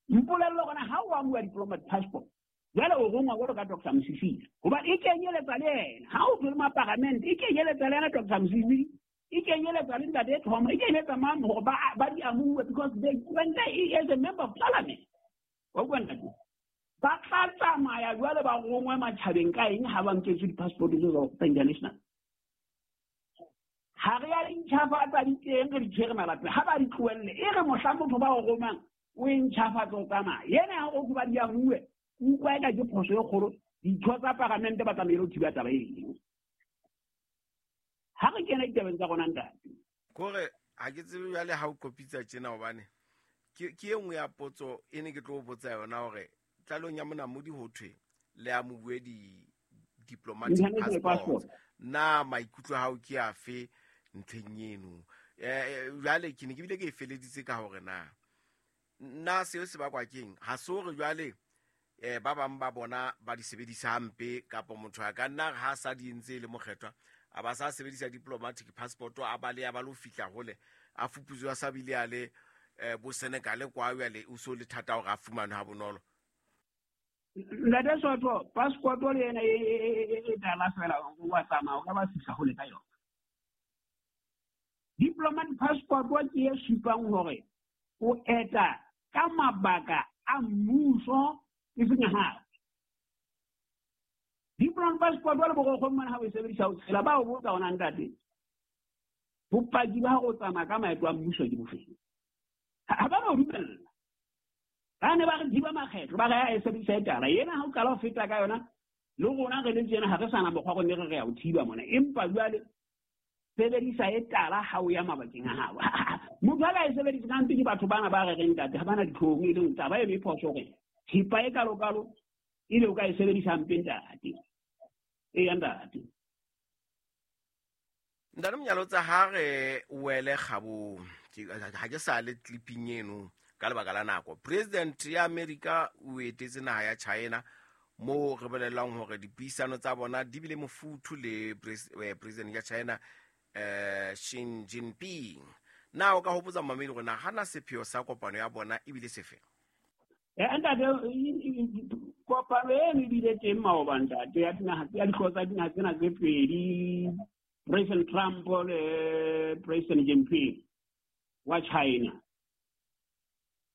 mpolelle hore ha o amuwa diplomatic passport jwale o rongwa jwalo ka Doctor Mosisili, hoba e kenyeletsa le yena. Ha o tswele maparamente e kenyeletsa le yena Doctor Mosisili, e kenyeletsa le ntate Thoma, e kenyeletsa mang hore ba ba di amuwe, because they when they as a member of parliament. Wa utlwa ntate? Ba tla tsamaya jwale ba rongwe matjhabeng ka eng ha ba nketswe di-passport tseo tsa international. Ha re ya di ntjhafatsa di teng re di tshwere malapeng, ha ba di tlohelle e re mohla motho ba o romang o e ntjhafatsa o tsamaya. Yena ha o ba di amuwe, utlwa eka ke phoso e kgolo. Ditho tsa paramente ba tlamehile ho thiba taba eo. Ha re kena ditabeng tsa rona ntate. Kore ha ke tsebe jwale ha o kopitsa tjena hobane ke ke e nngwe ya potso e ne ke tlo botsa yona hore tlalong ya Monamodi ho thwe le amuwe di diplomatic passport. Na maikutlo a hao ke afe ntlheng eno? Eh jwale ke ne ke bile ke e feleditse ka hore na nna seo se bakwa keng? Ha se hore jwale eh ba bang ba bona ba di sebedisa hampe, kapa motho a ka nna ha sa di entse le mokgethwa a ba sa sebedisa diplomatic passport a ba le ya ba lo fihla hole a fuputswa sa bile a le bo Senegal kwa jwale o so le thata hore a fumane ha bonolo. Ntate Sotho, passport le yena e tala fela o tsamaya o ka ba fihla hole ka yona. Diplomatic passport ke e supang hore o eta ka mabaka a mmuso e seng ha. Diplomatic passport le borokgo mona ha o e sebedisa o tshela ba o botsa ona ntate. Bopaki ba go tsamaya ka maeto a mmuso ke bofeng? Ha ba ba dumella. Ba ne ba re thiba makgetho ba re a e sebedisa e tala. Yena ha o qala ho feta ka yona le rona re le tsena ha re sana mokgwa go ne re re ya o thiba mona, empa jwale sebedisa e tala ha o ya mabakeng a hao. Motho a ka e sebedisa ka mpe ke batho bana ba re reng ntate ha bana ditlhong, e leng taba e phoso hore thipa e kalokalo ile o ka e sebedisa mpe ntate. E ya ntate. Ntate Monyalotsa, ha re wele kgabong, ha ke sa le clipping eno ka lebaka la nako. President ya America o etetse naha ya China mo re bolellang hore dipuisano tsa bona di bile mofuthu le president ya China eh Xi Jinping. Na o ka hopotsa mamedi hore na hana sepheo sa kopano ya bona ebile sefe? Ntate, kopano eno e bile teng maoba ntate ya dinaha ya dihlooho tsa dinaha tsena tse pedi, President Trump le President Jinping wa China.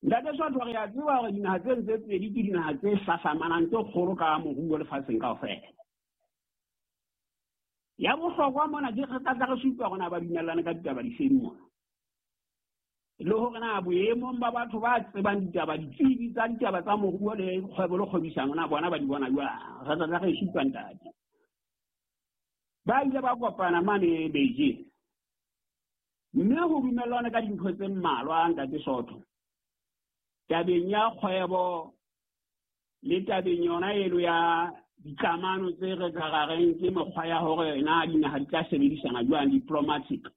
Ntate Sotho, re a tseba hore dinaha tseno tse pedi ke dinaha tse hlahlamanang tse kgolo ka moruo lefatsheng kaofela. Ya bohlokwa mona ke re tla re supa hore na ba dumellane ka ditaba difeng mona, le hore na boemong ba batho ba tsebang ditaba, ditsebi tsa ditaba tsa moruo le kgwebo le kgwebisano, na bona ba di bona jwang. Re tla re supa ntate. Ba ile ba kopana mane Beijing, mme ho dumellana ka dintho tse mmalwa ntate Sotho, tabeng ya kgwebo le tabeng yona eno ya dikamano tse re ka reng ke mekgwa ya hore na dinaha di tla sebedisana jwang, diplomatic.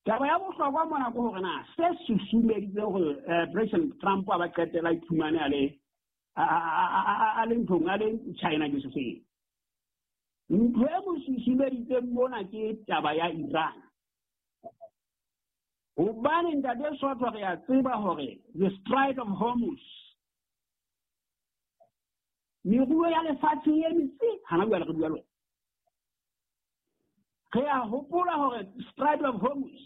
Taba ya bohlokwa mona ke hore na se susumeditse hore President Trump a ba qetela iphumane a le a le nthong a le China ke se feng. Ntho e mo susumeditseng mona ke taba ya Iran. Hobane ntate Sotho, re a tseba hore the Strait of Hormuz, meruo ya lefatshe e emitse hana jwale re bua le wena. Re a hopola hore Strait of Hormuz,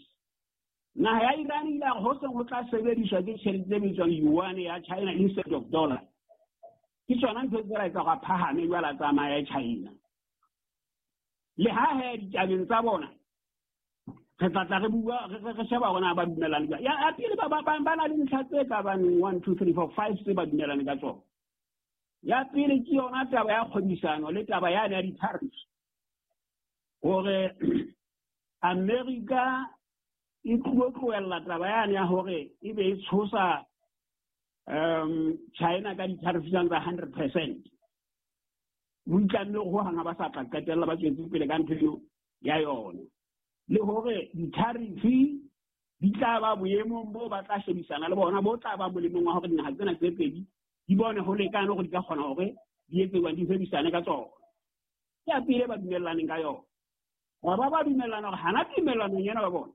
naha ya Iran ile a re ho seng ho tla sebediswa ke tjhelete e bitswang yuan ya China instead of dollar. Ke tsona ntho tse ra etsa hore a phahame jwale a tsamaya China. Le ha he ditabeng tsa bona re tla tla re bua re re sheba hore na ba dumellane jwang. Ya pele ba ba ba na le ntlha tse ka bang one two three four five tse ba dumellane ka tsona. Ya pele ke yona taba ya kgwebisano le taba ya ya di-tariffs, hore America e tlo tlohella taba yane ya hore e be e tshosa um China ka di-tariffs tsa hundred percent. Ho itlamme ho hang ha ba sa tla qetella ba tswetse pele ka ntho eo ya yona, le hore di-tariff di tla ba boemong bo ba tla shebisana le bona, bo tla ba molemong wa hore dinaha tsena tse pedi di bone ho lekane hore di ka kgona hore di etse jwang, di hwebisane ka tsona. Ke ya pele ba dumellaneng ka yona. Ba ba ba dumellana hore hana tumellanong ena ba bona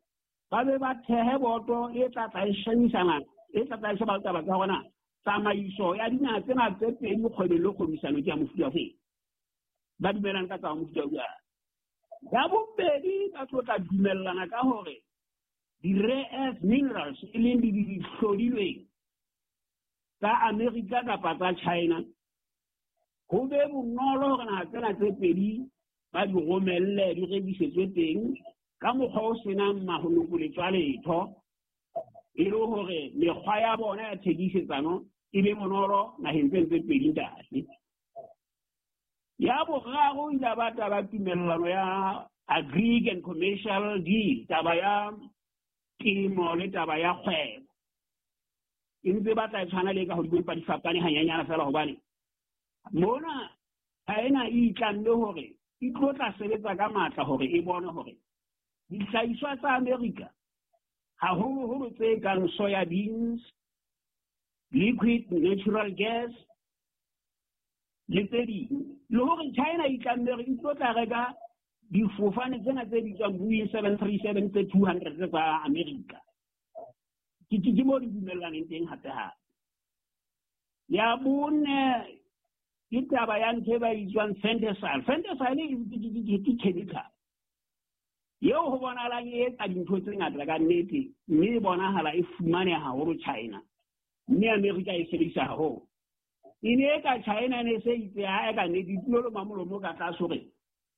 ba be ba thehe boto e tla tla e shebisana, e tla tla e sheba taba tsa hore na tsamaiso ya dinaha tsena tse pedi kgwebong le kgwebisano ke ya mofuta ofe. Ba dumellana ka tsa mofuta o jwang. Ya bobedi, ba tlo tla dumellana ka hore di-rare earth minerals e leng di dihlodilweng tsa America kapa tsa China, ho be bonolo hore naha tsena tse pedi ba di romelle di rekisetswe teng ka mokgwa o senang mahonokoletso a letho, e le hore mekgwa ya bona ya thekisetsano e be bonolo naheng tseno tse pedi ntate. Ya boraro ile ba taba tumellano ya agri and commercial deal, taba ya temo le taba ya kgwebo. E ntse batla e tshwana le ka hodimo empa di fapane hanyenyana fela, hobane mona China e itlamme hore e tlo tla sebetsa ka matla hore e bone hore dihlahiswa tsa America, haholoholo tse kang soya beans, liquid natural gas le tse ding, le hore China e itlamme hore e tlo tla reka difofane tsena tse bitswang Boeing seven three seven tse two hundred tsa America. Ke ke mo di dumellaneng teng hape hape. Ya bone ke taba ya ntho e ba bitswang fentanyl. Fentanyl ke chemical eo ho bonahalang e etsa dintho tse ngata ka nnete, mme e bonahala e fumaneha haholo China, mme America e sebedisa haholo. E ne e ka China e ne se itse ha e ka nnete e tlilo loma molomo ka tlase hore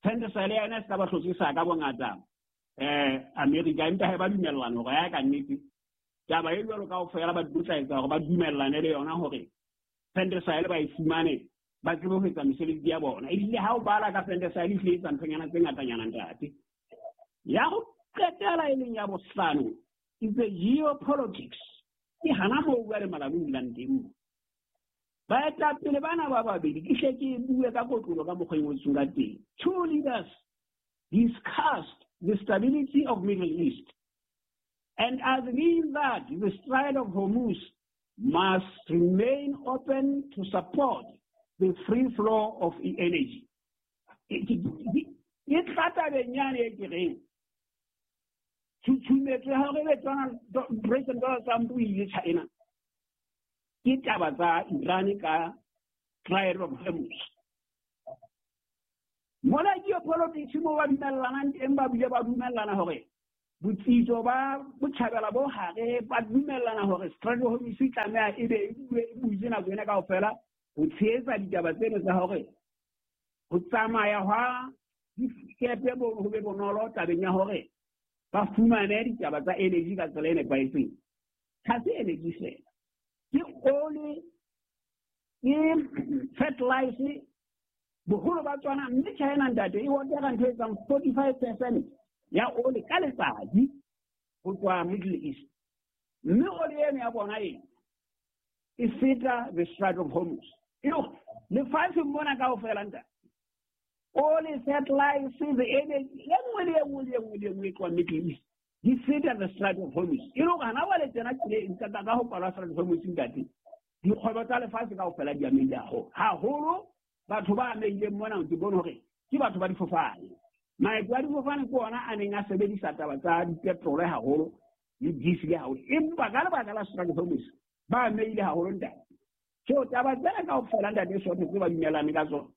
fentanyl yona e se ka ba hlotse sa ka bongata eh America, empa ha ba dumellana hore ya ka nnete taba e jwalo kaofela ba tla etsa hore ba dumellane le yona hore fentanyl ba e fumane, ba tsebe ho etsa mesebetsi ya bona. Ebile ha o bala ka fentanyl e hlile etsa nthonyana tse ngatanyana ntate. Ya ho qetela e leng ya bohlano is the geopolitics. Ke hana moo bua le malabu dulang teng. Baetapele bana ba babedi ke hle ke bue ka kotlolo ka mokgwa e ngotsweng ka teng. Two leaders discussed the stability of Middle East and agreed that the Strait of Hormuz must remain open to support the free flow of energy. E tla tabeng yane e ke reng tshutshumetso ya hore be Donald President Donald Trump o ile China, Ke taba tsa Iran ka Strait of Hormuz. Mona geopolitics mo ba dumellanang teng, ba bile ba dumellana hore botsitso ba botjhabela bo hare, ba dumellana hore Strait of Hormuz e tlameha e be e butse nako ena kaofela ho tshehetsa ditaba tseno tsa hore ho tsamaya hwa dikepe bo ho be bonolo tabeng ya hore ba fumane ditaba tsa energy ka tsela e nepahetseng. Ha se energy fela, ke oli, ke fertilizer, boholo ba tsona. Mme China ntate e order ntho e etsang forty-five percent ya oli ka letsatsi ho tswa Middle East. Mme oli eno ya bona e e feta the Strait of Hormuz. E le hore lefatsheng mona kaofela ntate, oli, fertilizer, the energy, e nngwe le e nngwe le e nngwe le e nngwe e tloha Middle East di feta the Strait of Hormuz. E le hore hana jwale tsena ka ka ho kwalwa Strait of Hormuz ntate, dikgwebo tsa lefatshe kaofela di amehile haholo. Haholo batho ba amehileng mona ke bone hore ke batho ba difofane. Maeto a difofane ke ona a neng a sebedisa taba tsa dipetrole haholo le diesel haholo, empa ka lebaka la Strait of Hormuz ba amehile haholo ntate. So taba tsena kaofela ntate Soto tse ba dumellane ka tsona,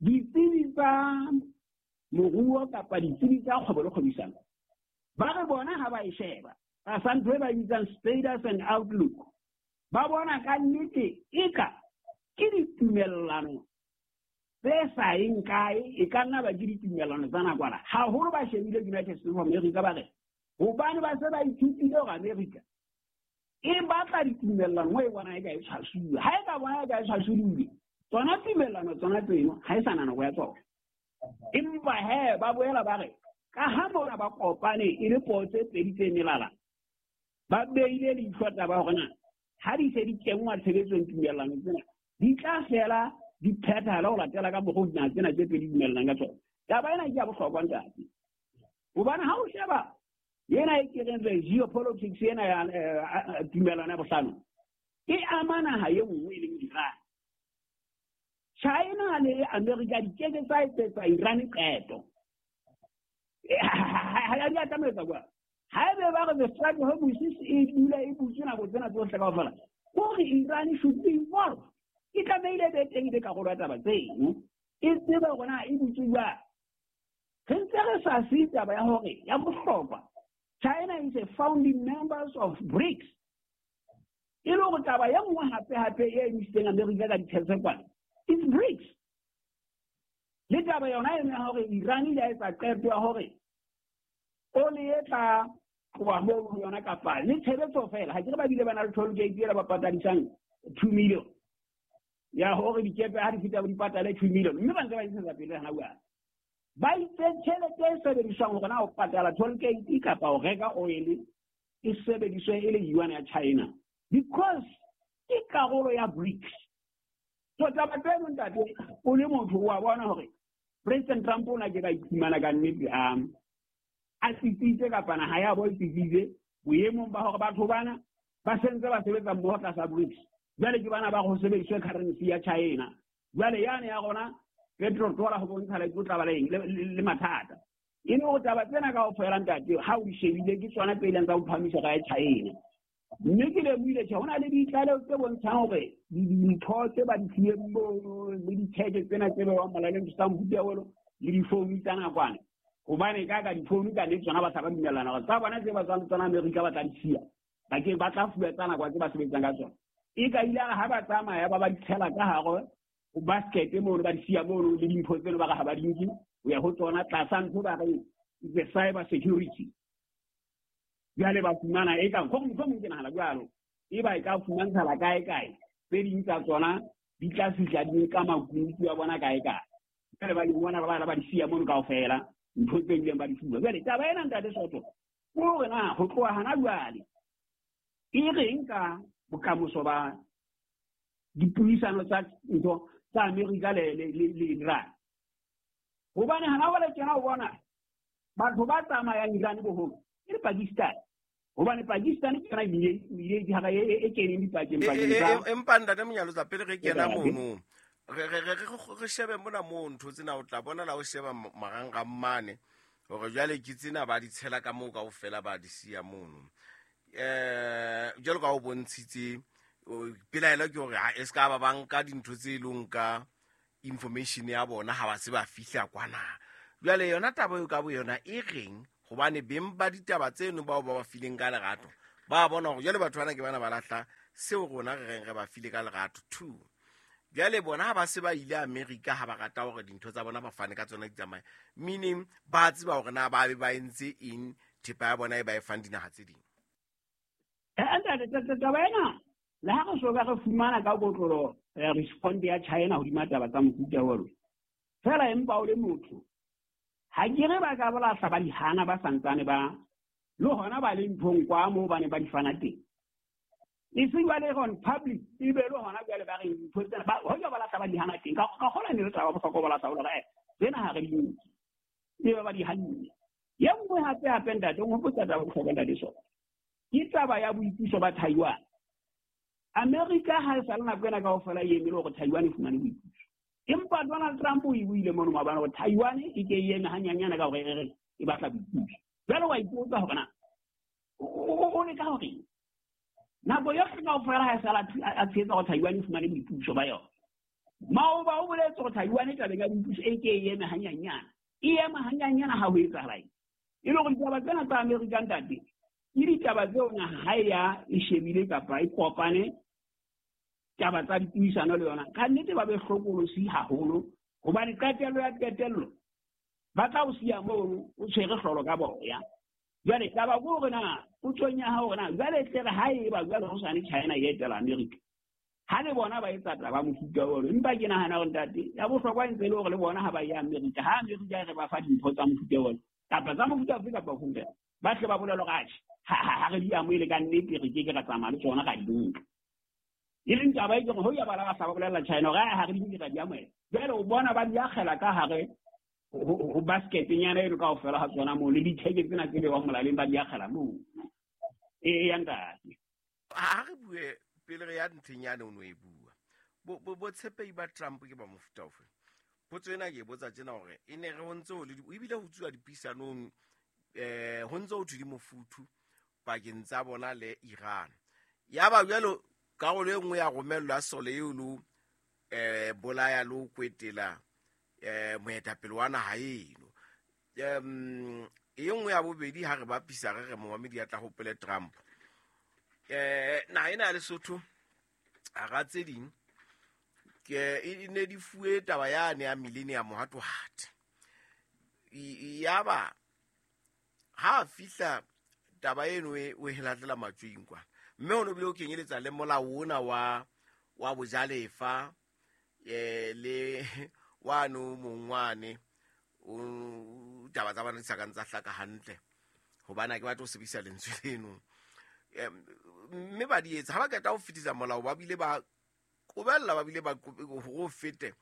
ditsebi tsa moruo kapa ditsebi tsa kgwebo le kgwebisano ba re bona ha ba e sheba tlasa ntho e ba bitsang status and outlook, ba bona ka nnete eka ke ditumellano tse sa yeng kae, e ka nna ba ke ditumellano tsa nakwana. Haholo ba shebile United States of America, ba re hobane ba se ba ithutile hore America e batla ditumellano mo e bona e ka e tshwasuwe. Ha e ka bona e ka e tshwasuwe, tsona tumellano tsona tseno ha e sa na nako ya tsona. Empa he ba boela ba re ka ha mona ba kopane e le puo tse pedi tse melala, ba beile leihlo taba hore na ha di se di kenngwa tshebetsong tumellano tsena di tla fela di phethahala ho latela ka mokgwa dinaha tsena tse pedi dumellanang ka tsona. Taba ena ke ya bohlokwa ntate, hobane ha o sheba ena e ke reng the geopolitics ena ya tumellano ya bohlano e ama naha e nngwe e leng Iran. China le America di keke tsa etsetsa Iran qeto. Ha di a tlameha kwa. Haebe ba re the Strait of Hormuz e dula e butswe nako tsena tsohle kaofela, hore Iran should be involved. E tlamehile be teng le karolo ya taba tseno, e tsebe hore na e butswe jwang. Re ntse re sa siye taba ya hore ya bohlokwa, China is a founding members of BRICS. E le hore taba ya nngwe hape hape e emisitseng America ka ditshese kwana, it's BRICS. Le taba yona eno ya hore Iran ile ya etsa qeto ya hore oli e tla tloha moo ho yona kapa le tshebetso fela, ha ke re ba bile ba na le toll gate ela ba patadisang two million ya hore dikepe ha di feta di patale two million, mme ba ntse ba ntshetsa pele hana jwale. Ba itse tjhelete e sebediswang hore na ho patala toll gate kapa ho reka oil e sebediswe e le yuan ya China, because ke karolo ya BRICS. So taba tseno ntate, o le motho wa bona hore President Trump o na ke ka iphumana ka nnete a a tsitsitse kapa naha ya bo e tsitsitse boemong ba hore batho bana ba sentse ba sebetsa mmoho tlasa BRICS. Jwale ke bana ba go sebediswe currency ya China. Jwale yane ya rona petrol dollar ho bontsha le tla ba le eng le mathata. E le hore taba tsena kaofela ntate ha o di shebile ke tsona tse ileng tsa ho phamisa ka ya China. Mme ke lemohile tjhe ho na le ditlaleho tse bontshang hore dintho tse ba di fileng mono le ditjheke tsena tse bewang molaleng tsa mofuta ono le difounu tsa nakwana, hobane ka ka difounu ka nnete tsona ba sa ba dumellana hore tsa bona tse ba tswang tsona Amerika ba tla di siya, ba ke ba tla fuwa tsa nakwana tse ba sebetsang ka tsona. E ka ile ha ba tsamaya ba ba di tshela ka hare ho basket mono, ba di siya mono le dimpho tseno ba re ha ba di nke ho ya ho tsona tlasa ntho ba reng the cyber security. Jwale ba fumana e ka mohlomong ke nahana jwalo, e ba e ka fumantshala kae kae tse ding tsa tsona di tla fihla di nka makunutu a bona kae kae. Jwale ba di bona ba ba di siya mono kaofela ntho tse ileng ba di fuwa. Jwale taba ena ntate Soto ke hore na ho tloha hana jwale e reng ka bokamoso ba dipuisano tsa ntho tsa Amerika le le le Iran. Hobane hana jwale tjena o bona batho ba tsamayang Iran boholo ke le Pakistan. Hobane Pakistan ke yona e ile e e keneng dipakeng pakeng tsa. Empa ntate Monyalotsa pele re kena mono re re re re shebe mona moo ntho tsena o tla bona la o sheba marangrang mane hore jwale ke tsena ba di tshela ka moo kaofela ba di siya mono. Eh jwalo ka o bontshitse Pelaelo ke hore ha e ska ba banka dintho tse leng ka information ya bona ha ba se ba fihla kwana. Jwale yona taba eo ka bo yona e reng hobane beng ba ditaba tseno bao ba ba fileng ka lerato ba bona hore jwale batho bana ke bana ba lahla seo rona re reng re ba file ka lerato two. Jwale bona ha ba se ba ile America ha ba rata hore dintho tsa bona ba fane ka tsona di tsamaye, meaning ba tseba hore na ba be ba entse eng thepa ya bona e ba e fang dinaha tse ding. Eh taba ena le ha re so ka re fumana ka kotlolo respond ya China hodima taba tsa mofuta ono fela empa o le motho ha ke re ba ka bolahla ba dihana ba santsane ba le hona ba le nthong kwa moo ba ne ba di fana teng e se jwale on public e be le hona jwale ba re ntho tsena ba hoja ba lahla ba dihana teng ka ka kgona ne re taba bohlokwa ba lahla ba re tsena ha re di e ba ba di hanne. Ye nngwe hape hape ntate o hopotsa taba bohlokwa ntate so ke taba ya boipuso ba Taiwan. America ha e sa le nako ena kaofela e emele hore Taiwan e fumane boipuso. Empa Donald Trump o e buile mono maobane hore Taiwan e ke e eme hanyanyana ka hore e re e batla boipuso. Jwale wa ipotsa hore na o leka hore nako yohle kaofela ha e sala a tshehetsa hore Taiwan e fumane boipuso ba yona. Maoba o boletse hore Taiwan e tabeng ya boipuso e ke e eme hanyanyana. E ema hanyanyana ha ho etsahala eng? E le hore ditaba tsena tsa America ntate ke ditaba tseo naha ha e ya e shebile kapa e kopane taba tsa dipuisano le yona ka nnete ba be hlokolosi haholo hobane qetello ya qetello ba tla o siya mono o tshwere hlolo ka boya. Jwale taba ke hore na potsong ya hao hore na jwale tle re ha eba jwale ho sane China e etela America ha le bona ba etsa taba mofuta ono empa ke nahana hore ntate ya bohlokwa e ntse e le hore le bona ha ba ya America ha America e re ba fa dimpho tsa mofuta ono kapa tsa mofuta ofe kapa ofe ba tle ba bolele hore atjhe ha re di amohele ka nnete re ke ke ra tsamaya le tsona ra di nka. E leng taba e ke hore ho ya ba la ba bolella China hore ha re di nke ra di amohela. Jwale o bona ba di akgela ka hare ho basket-nyana eno kaofela ha tsona moo le ditheke tsena tse bewang molaleng ba di akgela moo. E ya ntate. Ha re bue pele re ya ntlheng yane o no e bua. Bo botshepehi ba Trump ke ba mofuta ofe? Potso ena ke e botsa tjena hore e ne re ho ntse ho le ebile ho tsuwa dipuisanong eh ho ntse ho thwe di mofuthu pakeng tsa bona le Iran. Ya ba jwalo karolo e nngwe ya romellwa sole eo lo eh bolaya lo kwetela eh moetapele wa naha eno. Um e nngwe ya bobedi ha re bapisa re re momamedi ya tla hopole Trump. Eh naha ena ya Lesotho hara tse ding ke e ne di fuwe taba yane ya millennium hatohate. Ya ba ha fihla taba eno e o e latela matswing kwa mme o no bile o kenyeletsa le molao ona wa wa bojalefa eh le wa no mongwane o taba tsa bana di sa kang tsa hlaka hantle hobane ha ke batla ho sebedisa lentswe leno. Mme ba di etsa ha ba qeta ho fetisa molao ba bile ba qobella ba bile ba ho fete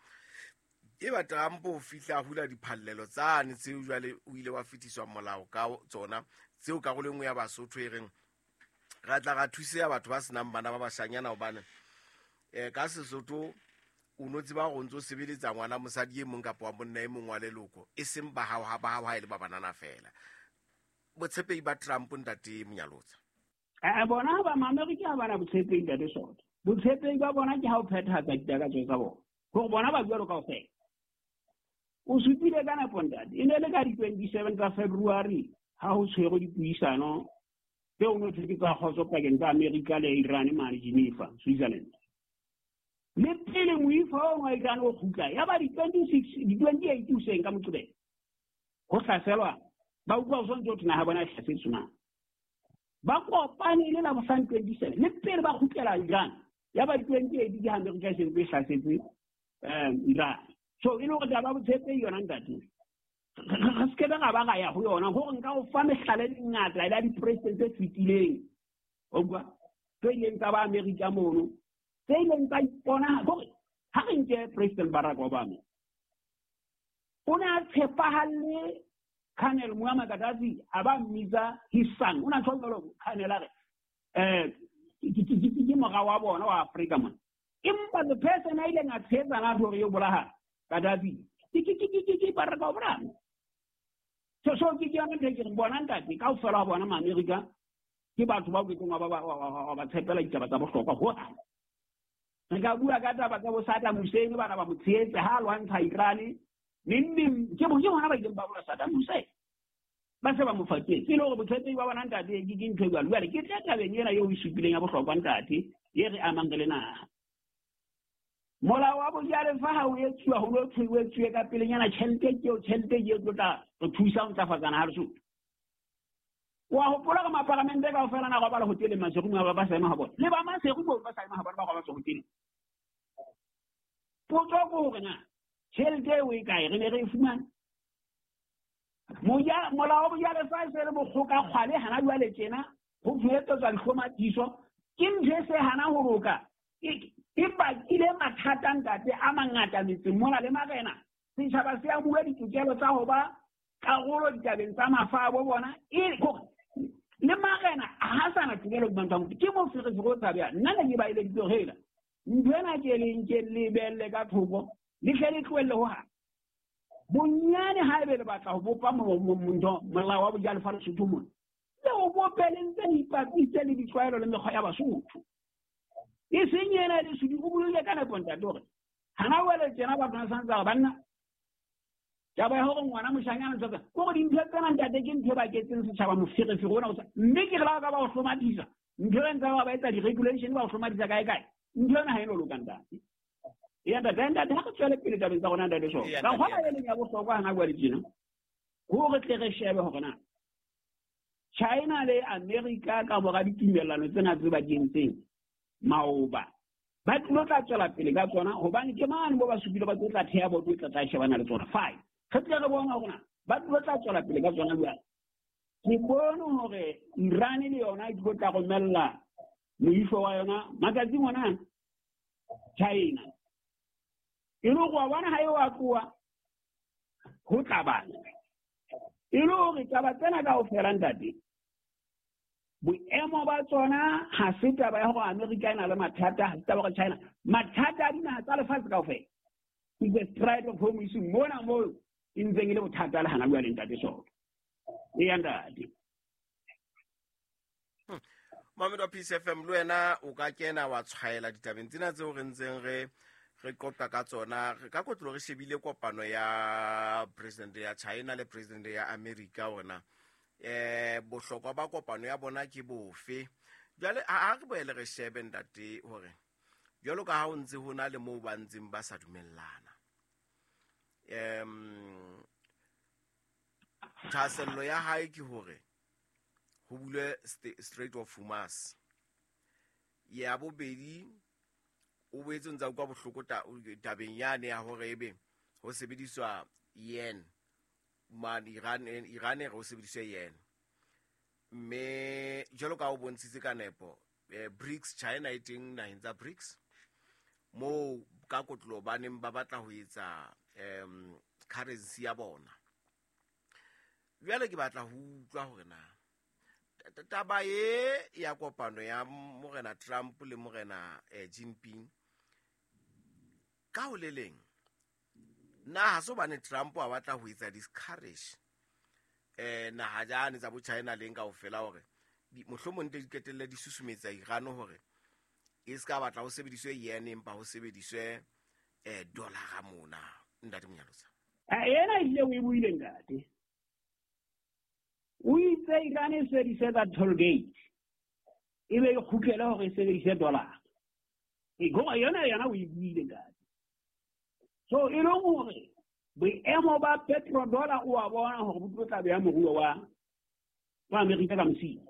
e ba Trump o fihla hula diphallelo tsane tseo jwale o ile wa fetiswa molao ka tsona tseo karolo e nngwe ya Basotho e reng ra tla ra thuseya batho ba senang bana ba bashanyana hobane eh ka Sesotho o no tseba hore o ntso sebeletsa ngwana mosadi e mong kapa wa monna e mong wa leloko e seng ba hao ha ba hao ha e le ba banana fela. Botshepehi ba Trump ntate Monyalotsa. Eh bona ba Maamerika ha bana botshepehi ntate Soto. Botshepehi ba bona ke ha o phethahatsa ditakatso tsa bona. Hore bona ba jwalo kaofela. O supile ka nako ntate. E ne le ka di twenty-seven tsa February ha ho tshwerwe dipuisano tseo no thwe ke tsa kgotso pakeng tsa America le Iran mane Geneva, Switzerland. Le pele moifo o wa Iran o kgutla ya ba di twenty-six di twenty-eight hoseng ka Moqebelo. Ho hlaselwa ba utlwa ho sontse ho thwe naha bona e hlasetswe na. Ba kopane le la bohlano twenty-seven le pele ba kgutlela Iran ya ba di twenty-eight ke ha America e sentse e hlasetse um Iran. So e le hore taba botshepehi yona ntate re se ke ra ba ra ya ho yona hore nka o fa mehlala e mengata ya di-president tse fetileng o utlwa tse ileng tsa ba America mono tse ileng tsa ipona hore ha re nke President Barack Obama o ne a tshepahalle Colonel Muammar Gaddafi a ba mmitsa his son o na tjho jwalo Colonel a re eh ke mora wa bona wa Afrika mona empa the person a ileng a tshehetsana hore yo bolaha Gaddafi ke ke ke ke ke Barack Obama. So so ke ke yona ntho e ke reng bona ntate kaofela wa bona Maamerika ke batho bao ke keng wa ba ba tshepela ditaba tsa bohlokwa ho. Re ka bua ka taba tsa bo Saddam Hussein bana ba mo tshehetse ha lwantsha Iran neng ke bo ke hona ba ileng ba bola Saddam Hussein ba se ba mo faketse e le hore botshepehi ba bona ntate ke ke ntho e jwalo. Jwale ke tla tabeng ena eo o e supileng ya bohlokwa ntate e re amang re le naha. Molao wa bojalefa ha o etsuwa ho no thwe o etsuwe ka pelenyana tjhelete ke eo tjhelete ke e tlo tla re thusa ho ntlafatsa naha Lesotho. Wa hopola ka mapalamente kaofela na robala hoteleng Maseru ba ba sa ema ha bona le ba Maseru ba sa ema ha bona ba robala hoteleng. Potso ke hore na tjhelete eo e kae re ne re e fumane. Moja molao wa bojalefa e se le bokgoka kgwale hana jwale tjena ho fetetswa dihlomathiso ke ntho e se hana ho loka e bakile mathata ntate a mangata metseng mona le marena. Setjhaba se a bua ditokelo tsa ho ba karolo ditabeng tsa mafa a bo bona e le marena ha sana tokelo ba motho ke moferefere o tshabehang. Nna ne ke ba eleditse hore hela ntho ena ke leng ke lebelle ka thoko le hle le tlohelle ho hang. Bonyane haebe le batla ho bopa ntho molao wa bojalefa Lesotho mona le o bope le ntse le ipapise le ditlwaelo le mekgwa ya Basotho. E seng ena le sudi o buile ka nepo ntate hore hana wele tjena batho ba santse ba banna taba ya hore ngwana moshanyana ntho tsa ke hore dintho tsena ntate ke ntho e baketseng setjhaba moferefere ona o sa mme ke re la ka ba o hlomathisa ntho e ntse ba ba etsa di-regulation ba o hlomathisa kae kae ntho ena ha e no loka ntate. Ya ntate ntate ha re tswele pele tabeng tsa rona ntate so ka kgona e leng ya bohlokwa hana bua le tjena hore tle re shebe hore na China le America ka mora ditumellano tsena tse ba di entseng maoba ba tlo tla tswela pele ka tsona hobane ke mane bo ba supile ba tlo tla theha boto e tla tla shebana le tsona fine. Re tle re bona hore na ba tlo tla tswela pele ka tsona jwang. Ke bone hore Iran le yona e tlo tla romella moifo wa yona matsatsing ona China e le hore wa bona ha e wa tloha ho tla bana e le hore taba tsena kaofela ntate boemo ba tsona ha se taba ya hore America e na le mathata ha se taba hore China mathata a dinaha tsa lefatshe kaofela ke the Strait of Hormuz mona moo e ntseng e le bothata le hana jwale ntate Soto. Eya ntate. Mamedi wa Peace F M le wena o ka kena wa tshwaela ditabeng tsena tseo re ntseng re re qoqa ka tsona. Re ka kotlo re shebile kopano ya president ya China le president ya America ona eh bohlokwa ba kopano ya bona ke bofe. Jwale ha re boele re shebe ntate hore jwalo ka ha o ntse ho na le moo ba ntseng ba sa dumellana em thahasello ya hae ke hore ho bulwe Strait of Hormuz. Ya bobedi o boetse ntsa utlwa bohloko tabeng yane ya hore ebe ho sebediswa yen mane Iran Iran re ho sebediswa yen mme jwalo ka o bontshitse ka nepo eh, BRICS China e teng naheng tsa BRICS moo ka kotlo ba neng ba batla ho etsa em currency ya bona. Jwale ke batla ho utlwa hore na taba e ya kopano ya morena Trump le morena eh, Jinping ka ho le leng na ha so bane Trump a batla ho etsa discourage eh naha jane tsa bo China leng kaofela hore mohlomong di qetelle di susumetsa Iran hore e ska batla ho sebediswe yen empa ho sebediswe eh dollar mona ntate Monyalosa. A ena ile o e buile ntate. O itse Iran e sebedise tsa toll gate e be e kgutlele hore e sebedise dollar. E go yona yona o e buile ntate. So e le hore boemo ba petrodollar o a bona hore bo tlo tla beha moruo wa wa Amerika ka mosing.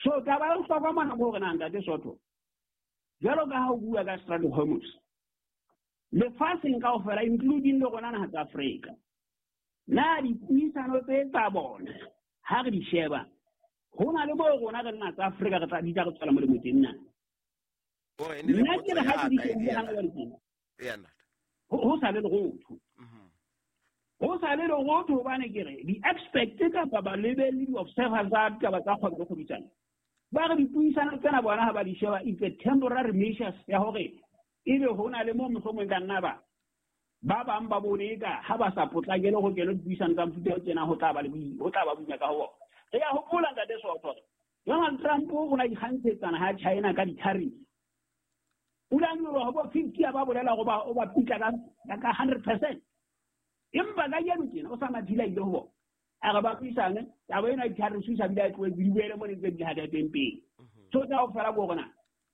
So taba ya bohlokwa mona ke hore na ntate Soto jwalo ka ha o bua ka Strait of Hormuz lefatsheng kaofela including le rona naha tsa Afrika na dipuisano tse tsa bona ha re di sheba ho na le bo rona re nna tsa Afrika re tla di tla re tswela molemo teng na. Nna ke re ha ke di shebile hana jwale tjena ho sa le lerotho ho sa le lerotho hobane ke re di-expert kapa balebelli di-observers tsa ditaba tsa kgwebo le kgwebisano ba re dipuisano tsena bona ha ba di sheba it's a temporary measures ya hore ebe ho na le moo mohlomong ka nna ba ba bang ba bone eka ha ba sa potlakele ho kena dipuisano tsa mofuta o tjena ho tla ba le ho tla ba boima ka ho bona. Re a hopola ntate Soto Donald Trump o na ikgantshetsana ha China ka di-tariffs. Pula nyoloha bo fifty ba bolela go ba o ba pitla ka ka hundred percent. Empa ka yeno tjena o sa mathila ile ho bona. A re ba buisane, taba ena e tla re thusa bile a tlohe di boele mo ne ntse di hata teng pele. So tsa ho fela bo rona.